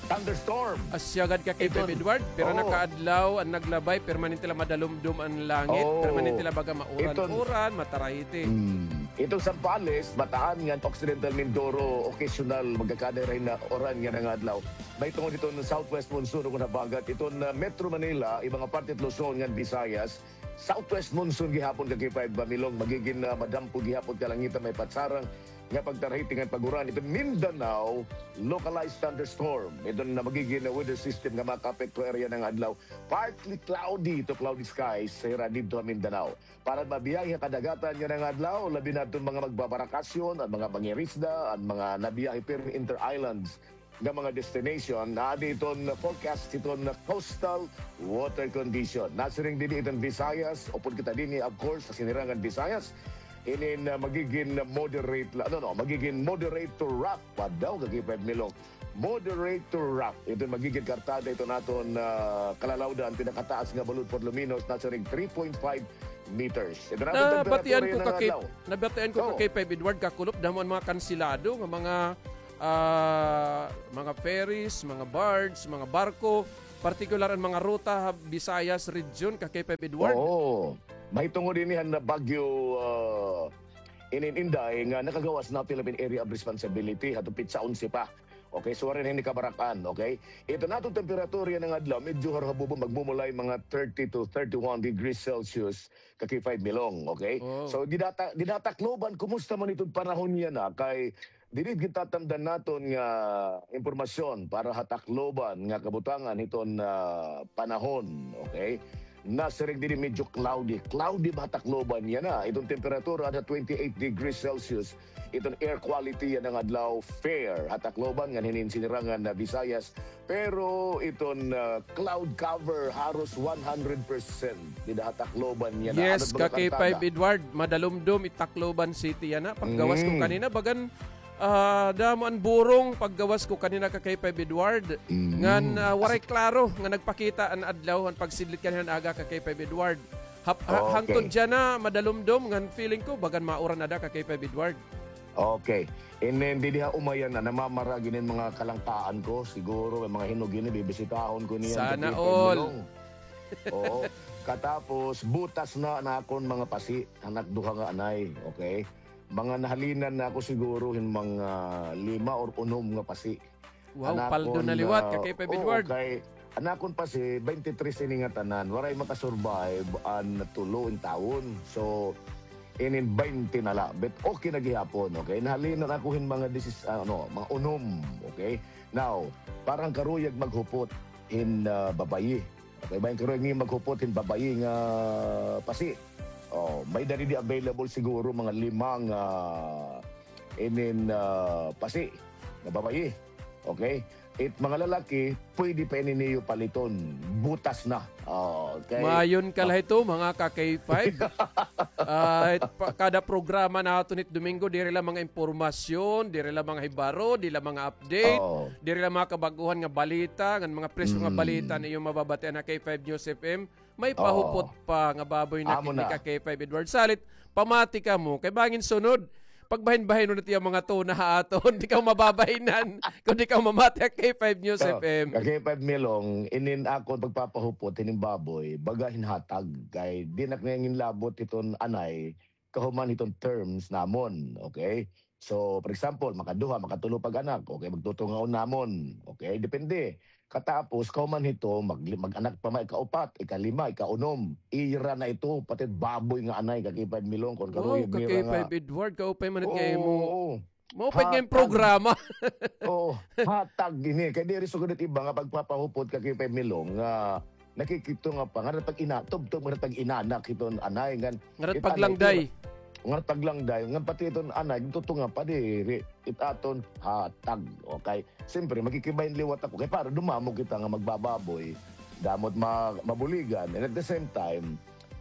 thunderstorm. Asya gad ka kay Pep Edward, pira na ka adlaw an naglabay, permanente la madalumdom an langit, permanente la baga mauran-uran, matarahiti. Hmm. Iton Zambales, Bataan, ngan Occidental Mindoro, occasional, magkakada ra hin uran yana nga adlaw. Mahitungod hiton southwest monsoon, ukon habagat, iton, ah, Metro Manila, iba nga parte hit Luzon ngan Visayas, southwest monsoon gihapon ka K five Milong, magigin, ah, madampo gihapon kalangitan, may patsarang nga pagtarahiti ngan pag-uran. Iton Mindanao, localized thunderstorm. Iton nga magigin, ah, weather system nga makaapekto ha area yana nga adlaw. Partly cloudy to cloudy skies hira didto ha Mindanao. Para mabiyahe ha kadagatan yana nga adlaw, labi na iton mga magbabarakasyon, an mga mangirisda, an mga nabiyahe pirmi inter-islands, nga mga destination, naadi iton forecast hiton coastal water condition. Nasiring dinhi iton Visayas, upod kita dinhi, of course, ha sinirangan Visayas, inin, ah, magigin moderate la, ano, no, magigin moderate to rough pa daw, ka-K five Milong. Moderate to rough. Iton magigin kartada iton aton, ah, kalalawdan, pinakataas nga balod por lo menos, nasiring three point five meters. Ito na aton temperatura yana nga adlaw. Nabatian ko ka-K five Edward, kakulop, damo an mga kansilado nga mga, ah, mga ferries, mga barge, mga barko, partikular an mga ruta ha Visayas region, ka-K five Edward. Oo. Mahitungod ini han Bagyo, ah, inin Inday nga nakagawas na Philippine Area of Responsibility, hato petsa onse pa. Okay, so waray na ini kabarak-an, okay? Ito na aton temperatura yana nga adlaw, medyo haruhabubo, magmumulay mga thirty to thirty-one degrees Celsius, ka-K five Milong, okay? Oh. So, dida ha Ta-, dida ha Tacloban, kumusta man iton panahon yana? Kay, diri gitatamdan naton nga impormasyon para ha Tacloban nga kabutangan hiton, ah, panahon, okay? Nasiring diri medyo cloudy. Cloudy ba ha Tacloban yana? Iton temperatura ada twenty-eight degrees Celsius. Iton air quality yana nga adlaw fair ha Tacloban ngan hinin sinirangan na Visayas. Pero iton, ah, cloud cover haros one hundred percent dida ha Tacloban yana. Yes, ka-K five Edward, madalumdom it Tacloban City yana. Paggawas ko kanina, bagan, ah, damo an burong paggawas ko kanina, ka-K five Edward. Ngan, ah, waray klaro nga nagpakita an adlaw han pagsidlit kanina nga aga, ka-K five Edward. Hap-, ha-, hangtod yana madalumdom ngan feeling ko bagan mauran ada, ka-K five Edward. Okay. And then, didi ha Uma yana, namamara gin in mga kalangkaan ko. Siguro, may mga hinog ini, bibisitahon ko niyan. Sana all. Oo. Katapos, butas na an akon mga pasi, anak duha nga anay. Okay? Mga nahalinan na ako siguro hin mga lima or unom nga pasi. Wow, paldo na liwat, ka-K five Edward. Kay an akon pasi, twenty-three ini nga tanan, waray makasurvive an tulo intawon. So, inin twenty na la, but okay na gihapon, okay? Nahalinan ako hin mga disis-, ano, mga unom, okay? Now, para han karuyag maghupot hin, ah, babayi. Okay, bangin karuyag niyo maghupot hin babayi nga pasi. Oh, may-ada didi available siguro mga lima nga, ah, inin, ah, pasi nga babayi. Okay? It mga lalaki, pwede pa ini niyo paliton. Butas na. Oh, okay. Maayon ka la hito, mga ka-K five. Ah, pa-, kada programa naton it Domingo, diri la mga impormasyon, diri la mga hibaro, diri la mga update, diri la mga kabag-ohan nga balita, ngan mga presko nga balita an iyo mababatian ha K five News F M. May pahupot pa nga baboy nakit ni ka-K five Edward. Salit, pamati kamo. Kay bangin sunod, pagbahin-bahinon na it iya mga tuna ha aton. Di kamo mababahinan kon di kamo mamati ha K five News F M. Ka-K five Milong, inin akon pagpapahupot hinin baboy, baga hin hatag. Kay di na ak nangin labot hiton anay, kahuman hiton terms namon, okay? So, for example, makaduha, makatulo pag-anak, okay, magtutungaon namon, okay? Depende. Katapos, kahuman hito, mag-, mag-anak pa man ikaupat, ikalima, ikaunom. Ira na ito, pati baboy nga anay, ka-K five Milong, kon karuyag nira nga. Wow, ka-K five Edward, kaupay man it nga imo. Oo, oo. Maupay nga im programa. Oo, hatag ini. Kay diri sugad it iba nga pagpapahupot, ka-K five Milong, nga nakikito nga pa, ngarat pag-ina-, tubtob ngarat pag-inanak hiton anay, ngan ngarat paglangday. Ngarat paglangday, ngan pati iton anay, tutunga pa diri, it aton hatag, okay? Siyempre, magkikibahin liwat ako, kay para dumamo kita nga magbababoy, damo it ma-, mabuligan, and at the same time,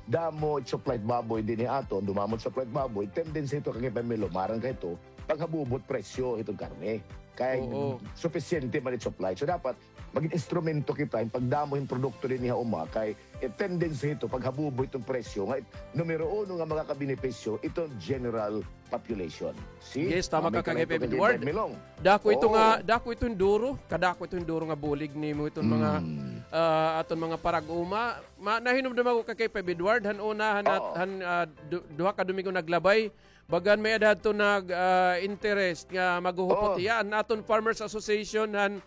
damo it supply it baboy dinhi aton, dumamo it supply it baboy, tendency ito, ka-K five Milong, maaram ka ito, paghabubot presyo hiton karne. Kay supisyente man it supply. So, dapat magin instrumento kita hin pagdamo hin produkto dinhi ha uma, kay it tendency hito paghabubo hiton presyo nga it numero uno nga makakabenepisyo iton general population. See? Yes, tama ka, ka-K five Edward. Dako ito nga, dako ito hin duro, kadako ito hin duro nga bulig nimo iton mga, ah, aton mga parag-uma. Ma-, nahinumdom ako, ka-K five Edward, han una, han, han, ah, du-, duha ka Domingo naglabay, bagan may-ada hadto nag, ah, interest nga maghuhupot hiya. An aton Farmers Association han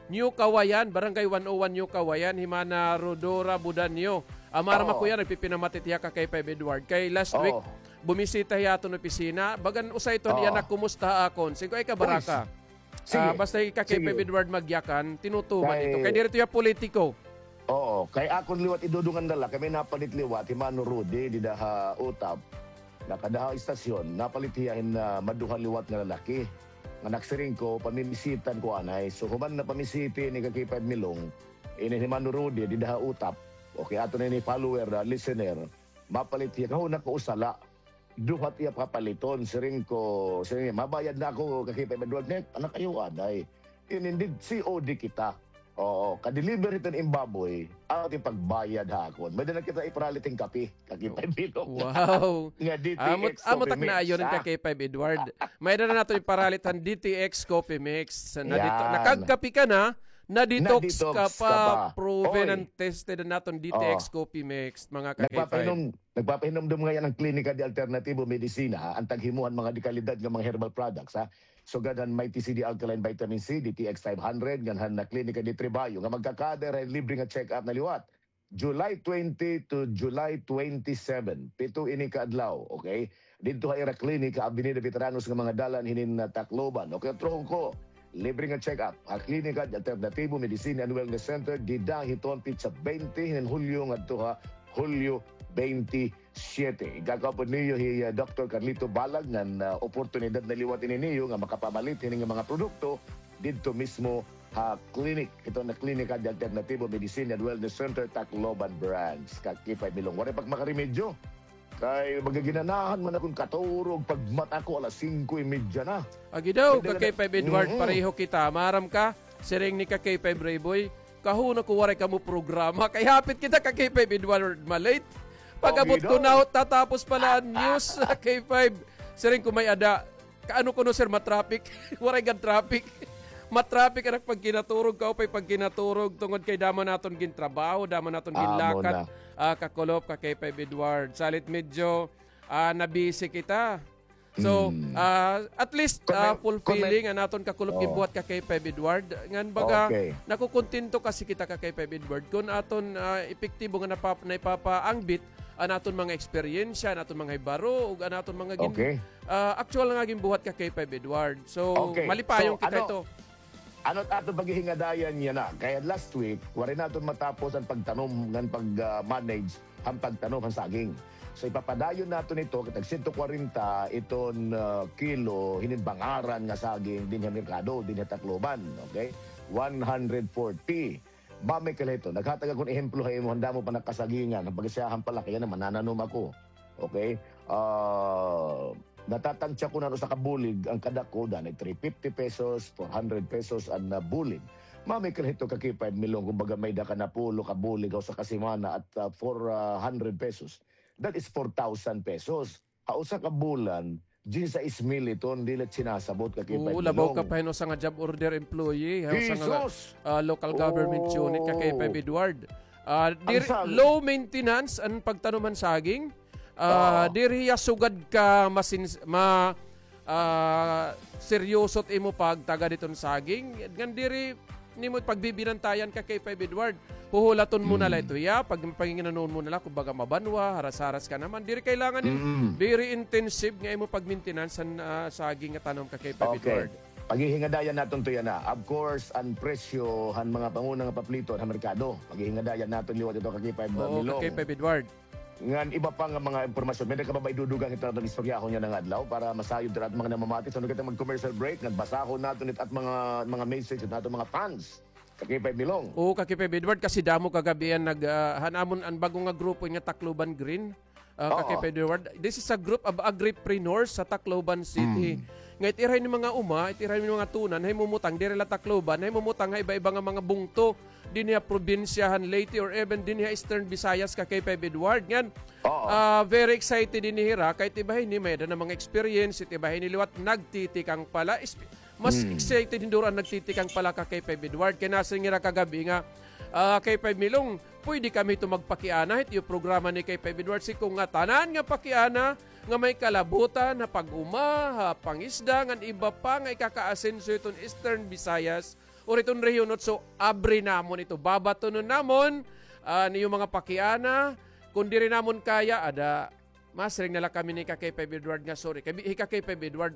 New Kawayan, Barangay one oh one New Kawayan, hi Mana Rodora Budanyo. Ah, maaram ako hiya, nagpipinamati hiya, ka-K five Edward. Kay last week, bumisita hiya ha aton opisina. Bagan usa ito han iya nakumusta ha akon. Siring ko, ay kabaraka. Ah, basta hi ka-K five Edward magyakan, tinutuman ito. Kay diri ito hiya politiko. Oo, kay akon liwat idudungan na la, kay may napalit liwat, hi Mano Rudy, dida ha Utap. Nakada ha istasyon, napalit hiya hin, ah, maduha liwat nga lalaki. nga nagsiring ko, pamimisita ko anay. So, human na pamisita ini ka K five Milong, ini hi Mano Rudy, dida ha Utap. Okay, aton ini follower, ah, listener. Mapalit hiya, kahuna ko usa la. Duha it iya papaliton, siring ko, siring niya, mabayad na ako, ka K five Edward, net, anak, ayaw anay. Ini, hindi, C O D kita. Oo, ka-deliver hiton im baboy, aton ipagbayad ha akon. May-ada na kita iparalit hin kape, ka K five Milong. Wow. Nga D T X Amot, amot ak naayon, ha? Ka K five Edward. May-ada na naton iparalit han D T X Coffee Mix. Na dito, nakagkape ka na, na-detox ka pa, proven and tested an aton D T X Coffee Mix, mga ka K five. Nagpapahinom, nagpapahinumdom ngay-an an Klinika de Alternativo Medicina, ha, an taghimuhan mga dekalidad nga mga herbal products, ha. Sugad han Mighty C D Alkaline Vitamin C, D T X five hundred, ngan han Klinika de Trebayo, nga magkakader han libre nga check-up na liwat. July twenty to July twenty-seven, pito ini ka adlaw, okay? Didto ha ira klinika, Avenida Veteranos nga mga dalan hinin, ah, Tacloban. Okay, utrohon ko, libre nga check-up ha Klinika de Alternativo Medicine and Wellness Center, dida hiton petsa twenty hinin Hulyo ngadto ha Hulyo twenty-seven. Igkakaupod niyo hi, ah, Doktor Carlito Balag ngan, ah, oportunidad na liwat ini niyo nga makapamalit hini nga mga produkto didto mismo ha clinic. Ito na Klinika de Alternativo Medicine and Wellness Center, Tacloban Branch. Ka K five Milong, waray pa ak makaremedyo. Kay magaginanahan man akon katurog pagmata ko alas singko y medya na. Agi daw, ka K five Edward, pareho kita. Maaram ka, siring ni ka K five Rayboy, kahuna ko waray kamo programa. Kay hapit kita, ka K five Edward, ma-late. Pag-abot ko, natatapos pa la an news, ka K five. Siring ko may-ada. Kaano kuno, sir, ma-traffic? Waray gad traffic. Ma-traffic an ak pagkinaturog, kaupay pagkinaturog, tungod kay damo naton gintrabaho, damo naton ginlakad. Ah, kakulop, ka K five Edward. Salit medyo, ah, na-busy kita. So, ah, at least, ah, fulfilling an aton kakulop ginbuhat, ka K five Edward. Ngan baga, nakukontento kasi kita, ka K five Edward, kun aton, ah, epektibo nga napa-, naipapaangbit an aton mga eksperyensya, an aton mga hibaro, ug an aton mga gin-, ah, actual nga ginbuhat, ka K five Edward. So, malipayon kita ito. Ano it aton paghihingadayan yana? Kay last week, waray naton matapos an pagtanom ngan pag, ah, manage han pagtanom han saging. So, ipapadayon naton ito, kay tag sento kwarenta iton, ah, kilo, hinin bangaran nga saging dinhi ha merkado, dinhi ha Tacloban, okay? One hundred forty. Ma'am Michael Hito, naghatag ako hin ehemplo ha imo, han damo pa nakasagingan, han pagkasiyahan pa la, kay yana, manananom ako. Okay? Ah, natatansya ko na usa ka bulig, an kadako, danay three fifty pesos, four hundred pesos an, ah, bulig. Ma'am Michael Hito, ka K five Milong, kumbaga may-ada ka napulo ka bulig ha usa ka semana at, ah, four hundred pesos. That is four thousand pesos. Ha usa ka bulan, diyesisais mil iton, diri la sinasabot, ka K five Milong. Oo, labaw ka pa hin usa nga job order employee, ha usa nga, ah, local government unit, ka K five Edward. Ah, diri, low maintenance an pagtanom han saging. Ah, diri hiya sugad ka masins-, ma-, ah, seryoso it imo pagtagad hiton saging. Ngan diri nimo pagbibinantayan, ka K five Edward. Huhulaton mo na la ito hiya, pag-, paginginanon mo na la, kumbaga mabanwa, haras-haras ka naman. Diri kailangan hin very intensive nga imo pag-maintenance han, ah, saging nga tanom, ka K five Edward. Paghihingadayan naton ito yana. Of course, an presyo han mga panguna nga papliton ha merkado. Paghihingadayan naton liwat ito, ka K five Milong. Oo, ka K five Edward. Ngan iba pa nga mga impormasyon. May-ada ka pa ba idudugang hit aton istoryahon yana nga adlaw para masayod it aton mga namamati? So, ano kita mag-commercial break, ngan basahon naton it at mga, mga message hit aton mga fans. Ka K five Milong. Oo, ka K five Edward, kasi damo kagab-i an nag, ah, han amon an bag-o nga grupo nga Tacloban Green. Ah, ka K five Edward. This is a group of agripreneurs sa Tacloban City. Nga it ira ini mga uma, it ira ini mga tunan, hay mumutang diri la Tacloban, hay mumutang ha iba-iba nga mga bungto dinhi ha probinsya han Leyte or even dinhi ha Eastern Visayas, ka K five Edward. Ngan, ah, very excited ini hira, kay it iba hini may-ada na mga experience, it iba hini liwat nagtitikang pa la. Mas excited hin duro an nagtitikang pa la, ka K five Edward. Kay nasiring hira kagab-i nga, ah, K five Milong, pwede kami ito magpakiana hit iyo programa ni K five Edward. Si ko ngatanan nga pakiana nga may kalabutan ha pag-uma, ha pangisda, ngan iba pa nga ikakaasenso hiton Eastern Visayas or hiton rehiyon otso, abri namon ito. Babatonon namon an iyo mga pakiana. Kon diri namon kaya, ada, masiring na la kami ni ka K five Edward nga sorry. Kay hi ka K five Edward,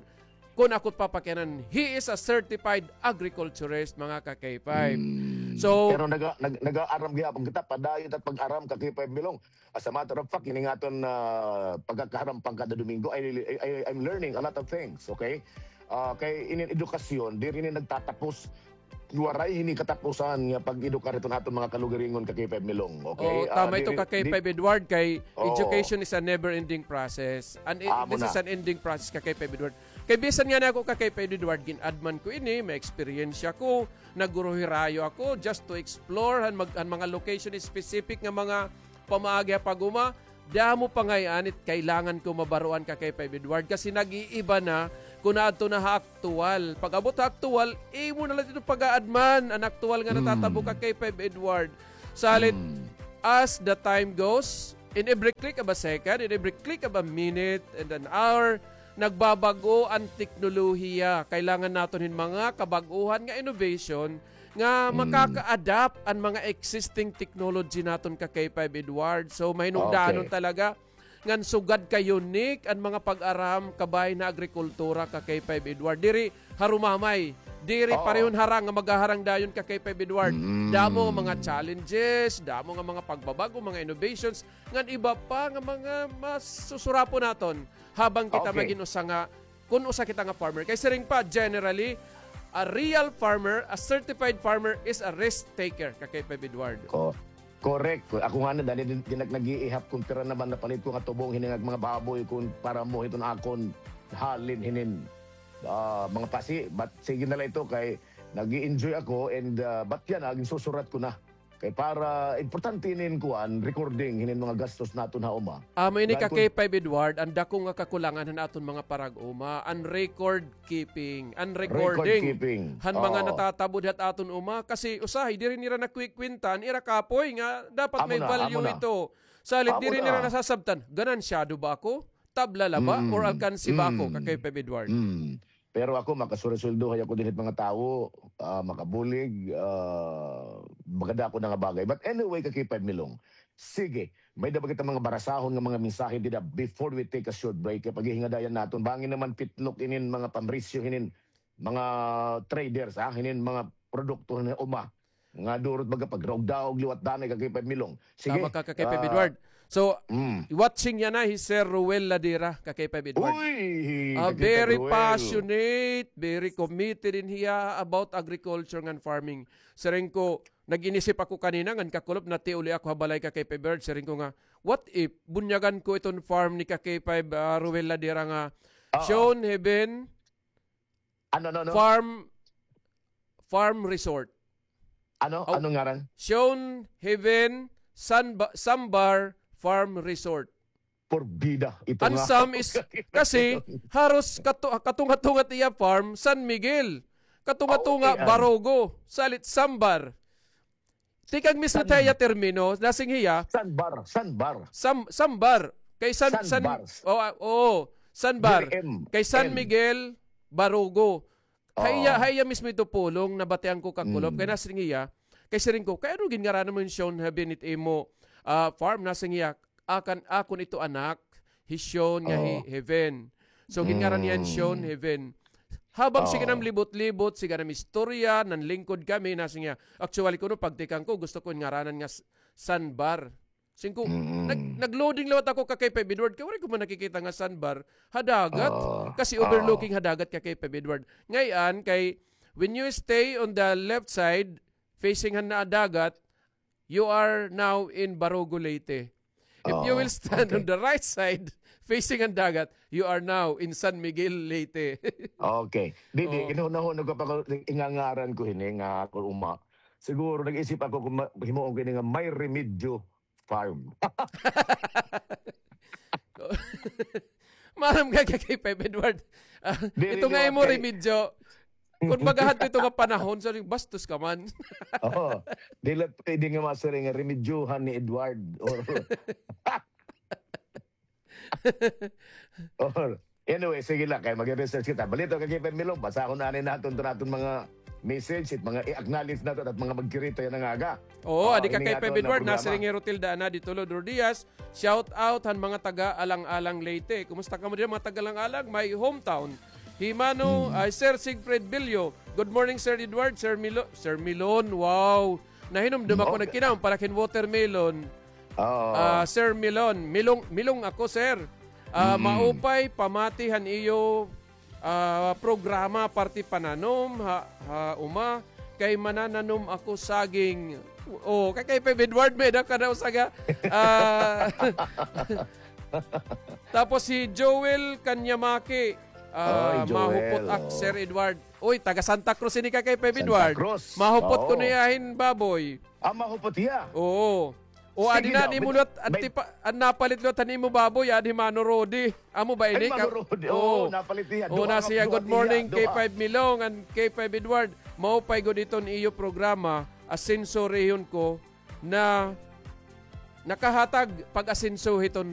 kon ako it papakianan, he is a certified agriculturist, mga ka K five. So, pero naga-, nag-, nag-aaram gihapon kita, padayon it at pag-aram, ka K five Milong. As a matter of fact, ini nga aton, ah, pagkakaharam pang kada Domingo, I, I, I, I'm learning a lot of things, okay? Ah, kay inin edukasyon, diri ini nagtatapos. Waray hini katapusan nga pag-edukar hiton aton mga kalugaringon, ka K five Milong, okay? Oo, tama ito, ka K five Edward, kay education is a never-ending process. And i- this is an ending process, ka K five Edward. Kay bisan ngani ako, ka K five Edward, gin-adman ko ini, may eksperyensya ko, nagguruhirayo ako just to explore han, mag, han mga location specific nga mga pamaagi ha pag-uma. Damo pa ngay-an it kailangan ko mabaruan, ka K five Edward, kasi nag-iiba na kon adto na ha aktuwal. Pag-abot ha aktuwal, imo na la ito pag-aadman an aktuwal nga natatabo, ka K five Edward. Salit, as the time goes, in every click of a second, in every click of a minute and an hour, nagbabag-o an teknolohiya. Kailangan naton hin mga kabag-ohan nga innovation nga makaka-adapt an mga existing technology naton, ka K five Edward. So, mahinungdanon talaga ngan sugad ka unique an mga pag-aram kabahin ha agrikultura, ka K five Edward. Diri harumamay, diri parehon harang nga maghaharang dayon, ka K five Edward. Damo nga mga challenges, damo nga mga pagbabag-o, mga innovations, ngan iba pa nga mga masusurapon naton habang kita magin usa nga, kun usa kita nga farmer. Kay siring pa, generally, a real farmer, a certified farmer is a risk taker, ka K five Edward. Ko, correct. Ako ngani, dali din, din nag-iihap kon pira naman napalit ko nga tubong hini nga mga baboy kon para mo hiton akon halin hinin, ah, mga pasi. But sige na la ito kay nag-i-enjoy ako and, ah, but yana, ginsusurat ko na. Kay para importante inin kuan, recording hinin mga gastos naton ha uma. Amo ini, ka K five Edward, an dako nga kakulangan han aton mga parag-uma, an record keeping, an recording han mga natatabod ha aton uma, kasi usahay diri nira nakwikwinta an ira kapoy nga dapat may value ito. Salit diri nira nasasabtan, ganansyado ba ako? Tabla la ba or alkansi ba ako, ka K five Edward? Pero ako, makasuresweldohay ako dinhi hit mga tawo, ah, makabulig, ah, baga dako na nga bagay. But anyway, ka K five Milong, sige, may-ada ba kita mga barasahon nga mga mensahe dida before we take a short break? Kay paghihingadayan naton, bangin naman pitlok inin mga pamrisyo hinin mga traders, ha, hinin mga produkto hinin uma. Nga durot baga pagraog-daog liwat danay, ka K five Milong. Sige. Tama ka, ka K five Edward. So, watching yana hi Sir Ruel Ladera, ka K five Edward. Uy, very passionate, very committed in hiya about agriculture ngan farming. Siring ko, nag-inisip ako kanina, ngan kakulop, natiuli ako ha balay, ka K five Edward. Siring ko nga, what if bunyagan ko iton farm ni ka K five, ah, Ruel Ladera nga Shown Heaven, Ano, ano, ano? Farm, Farm Resort. Ano? Anong ngaran? Shown Heaven Sanba-, Sambar Farm Resort. Porbida. Ito nga. An Sam is, kasi, haros katu-, katunga-tunga it iya farm, San Miguel. Katunga-tunga, Barogo. Salit Sambar. Tikang mismo it iya termino, nasing hiya. Sanbar, Sanbar. Sam-, Sambar. Kay San, San, oo, ah, oo. Sanbar. Kay San Miguel, Barogo. Ha iya, ha iya mismo ito pulong, nabatian ko kakulop. Kay nasing hiya, kay siring ko, kay ano ginngaranan mo hin Shown Heaven it imo, ah, farm? Nasing hiya, akan, akon ito anak, hi Shown nga hi Heaven. So, ginngaranan hiya hin Shown Heaven. Habang sige nam libot-libot, sige nam istorya, nanlingkod kami, nasing hiya. Actually, kuno pagtikang ko, gusto ko ngaranan nga s-, Sanbar. Siring ko, nag-, nag-loading liwat ako ka K five Edward, kay waray ko man nakikita nga Sanbar ha dagat. Kasi overlooking ha dagat ka K five Edward. Ngay-an, kay when you stay on the left side, facing han dagat, you are now in Barogo, Leyte. If you will stand on the right side, facing an dagat, you are now in San Miguel, Leyte. Okay. Di, di, oh, hinuhunog ko pa ko, ingangaran ko hini nga ako uma. Siguro nag-isip ako kung ma-, himuon ko hini nga May Remedyo Farm. Maaram ka kay Five Edward. Ah, ito nga imo remedyo. Kun baga hadto ito nga panahon, sabi, bastos ka man. Oo. Dili pwede nga masiring nga remedyohan ni Edward. Or, or, anyway, sige lang, kay mag-research kita. Balito kay Five Milong, basahon anay naton to naton mga message, it mga i-acknowledge naton at mga magkirito yana nga aga. Oo, adi ka kay Five Edward, nasiring hi Rotilda Ana di Tulod Rodias, shout out han mga taga Alang-alang, Leyte. Kumusta kamo diyan, mga taga Alang-alang, my hometown? Hi Mano, ay, Sir Siegfried Bilyo. Good morning, Sir Edward, Sir Milo-, Sir Milon. Wow. Nahinumdum ako, nagkinahanglan para kin watermelon. Oo. Ah, Sir Milon, Milong, Milong ako, sir. Ah, maupay pamati han iyo ah, programa parte pananom ha, ha uma, kay manananom ako saging. Oh, kay, kay Peb Edward may-ada ka daw saga. Ah, tapos si Joel Kanyamaki, ah, Ay, Joel, mahupot ak, oo. Sir Edward. Uy, taga Santa Cruz ini ka kay Peb Santa Edward. Cruz. Mahupot ko Oo. niya hin baboy. Ah, mahupot hiya. Oo. O, Sige adi na, na, nimo bit-, luwat, bit- antipa-, an napalit luwat han imo baboy, adi Mano Rodi. Amo ba ini? Ay, Mano Rodi. Oo, napalit niya. Oo, duha na nga, siya. Duha Good morning, niya, K five duha. Milong and K five Edward. Maupay gud iton iyo programa, Asenso Rehyon Ko, na nakahatag pag-asenso hiton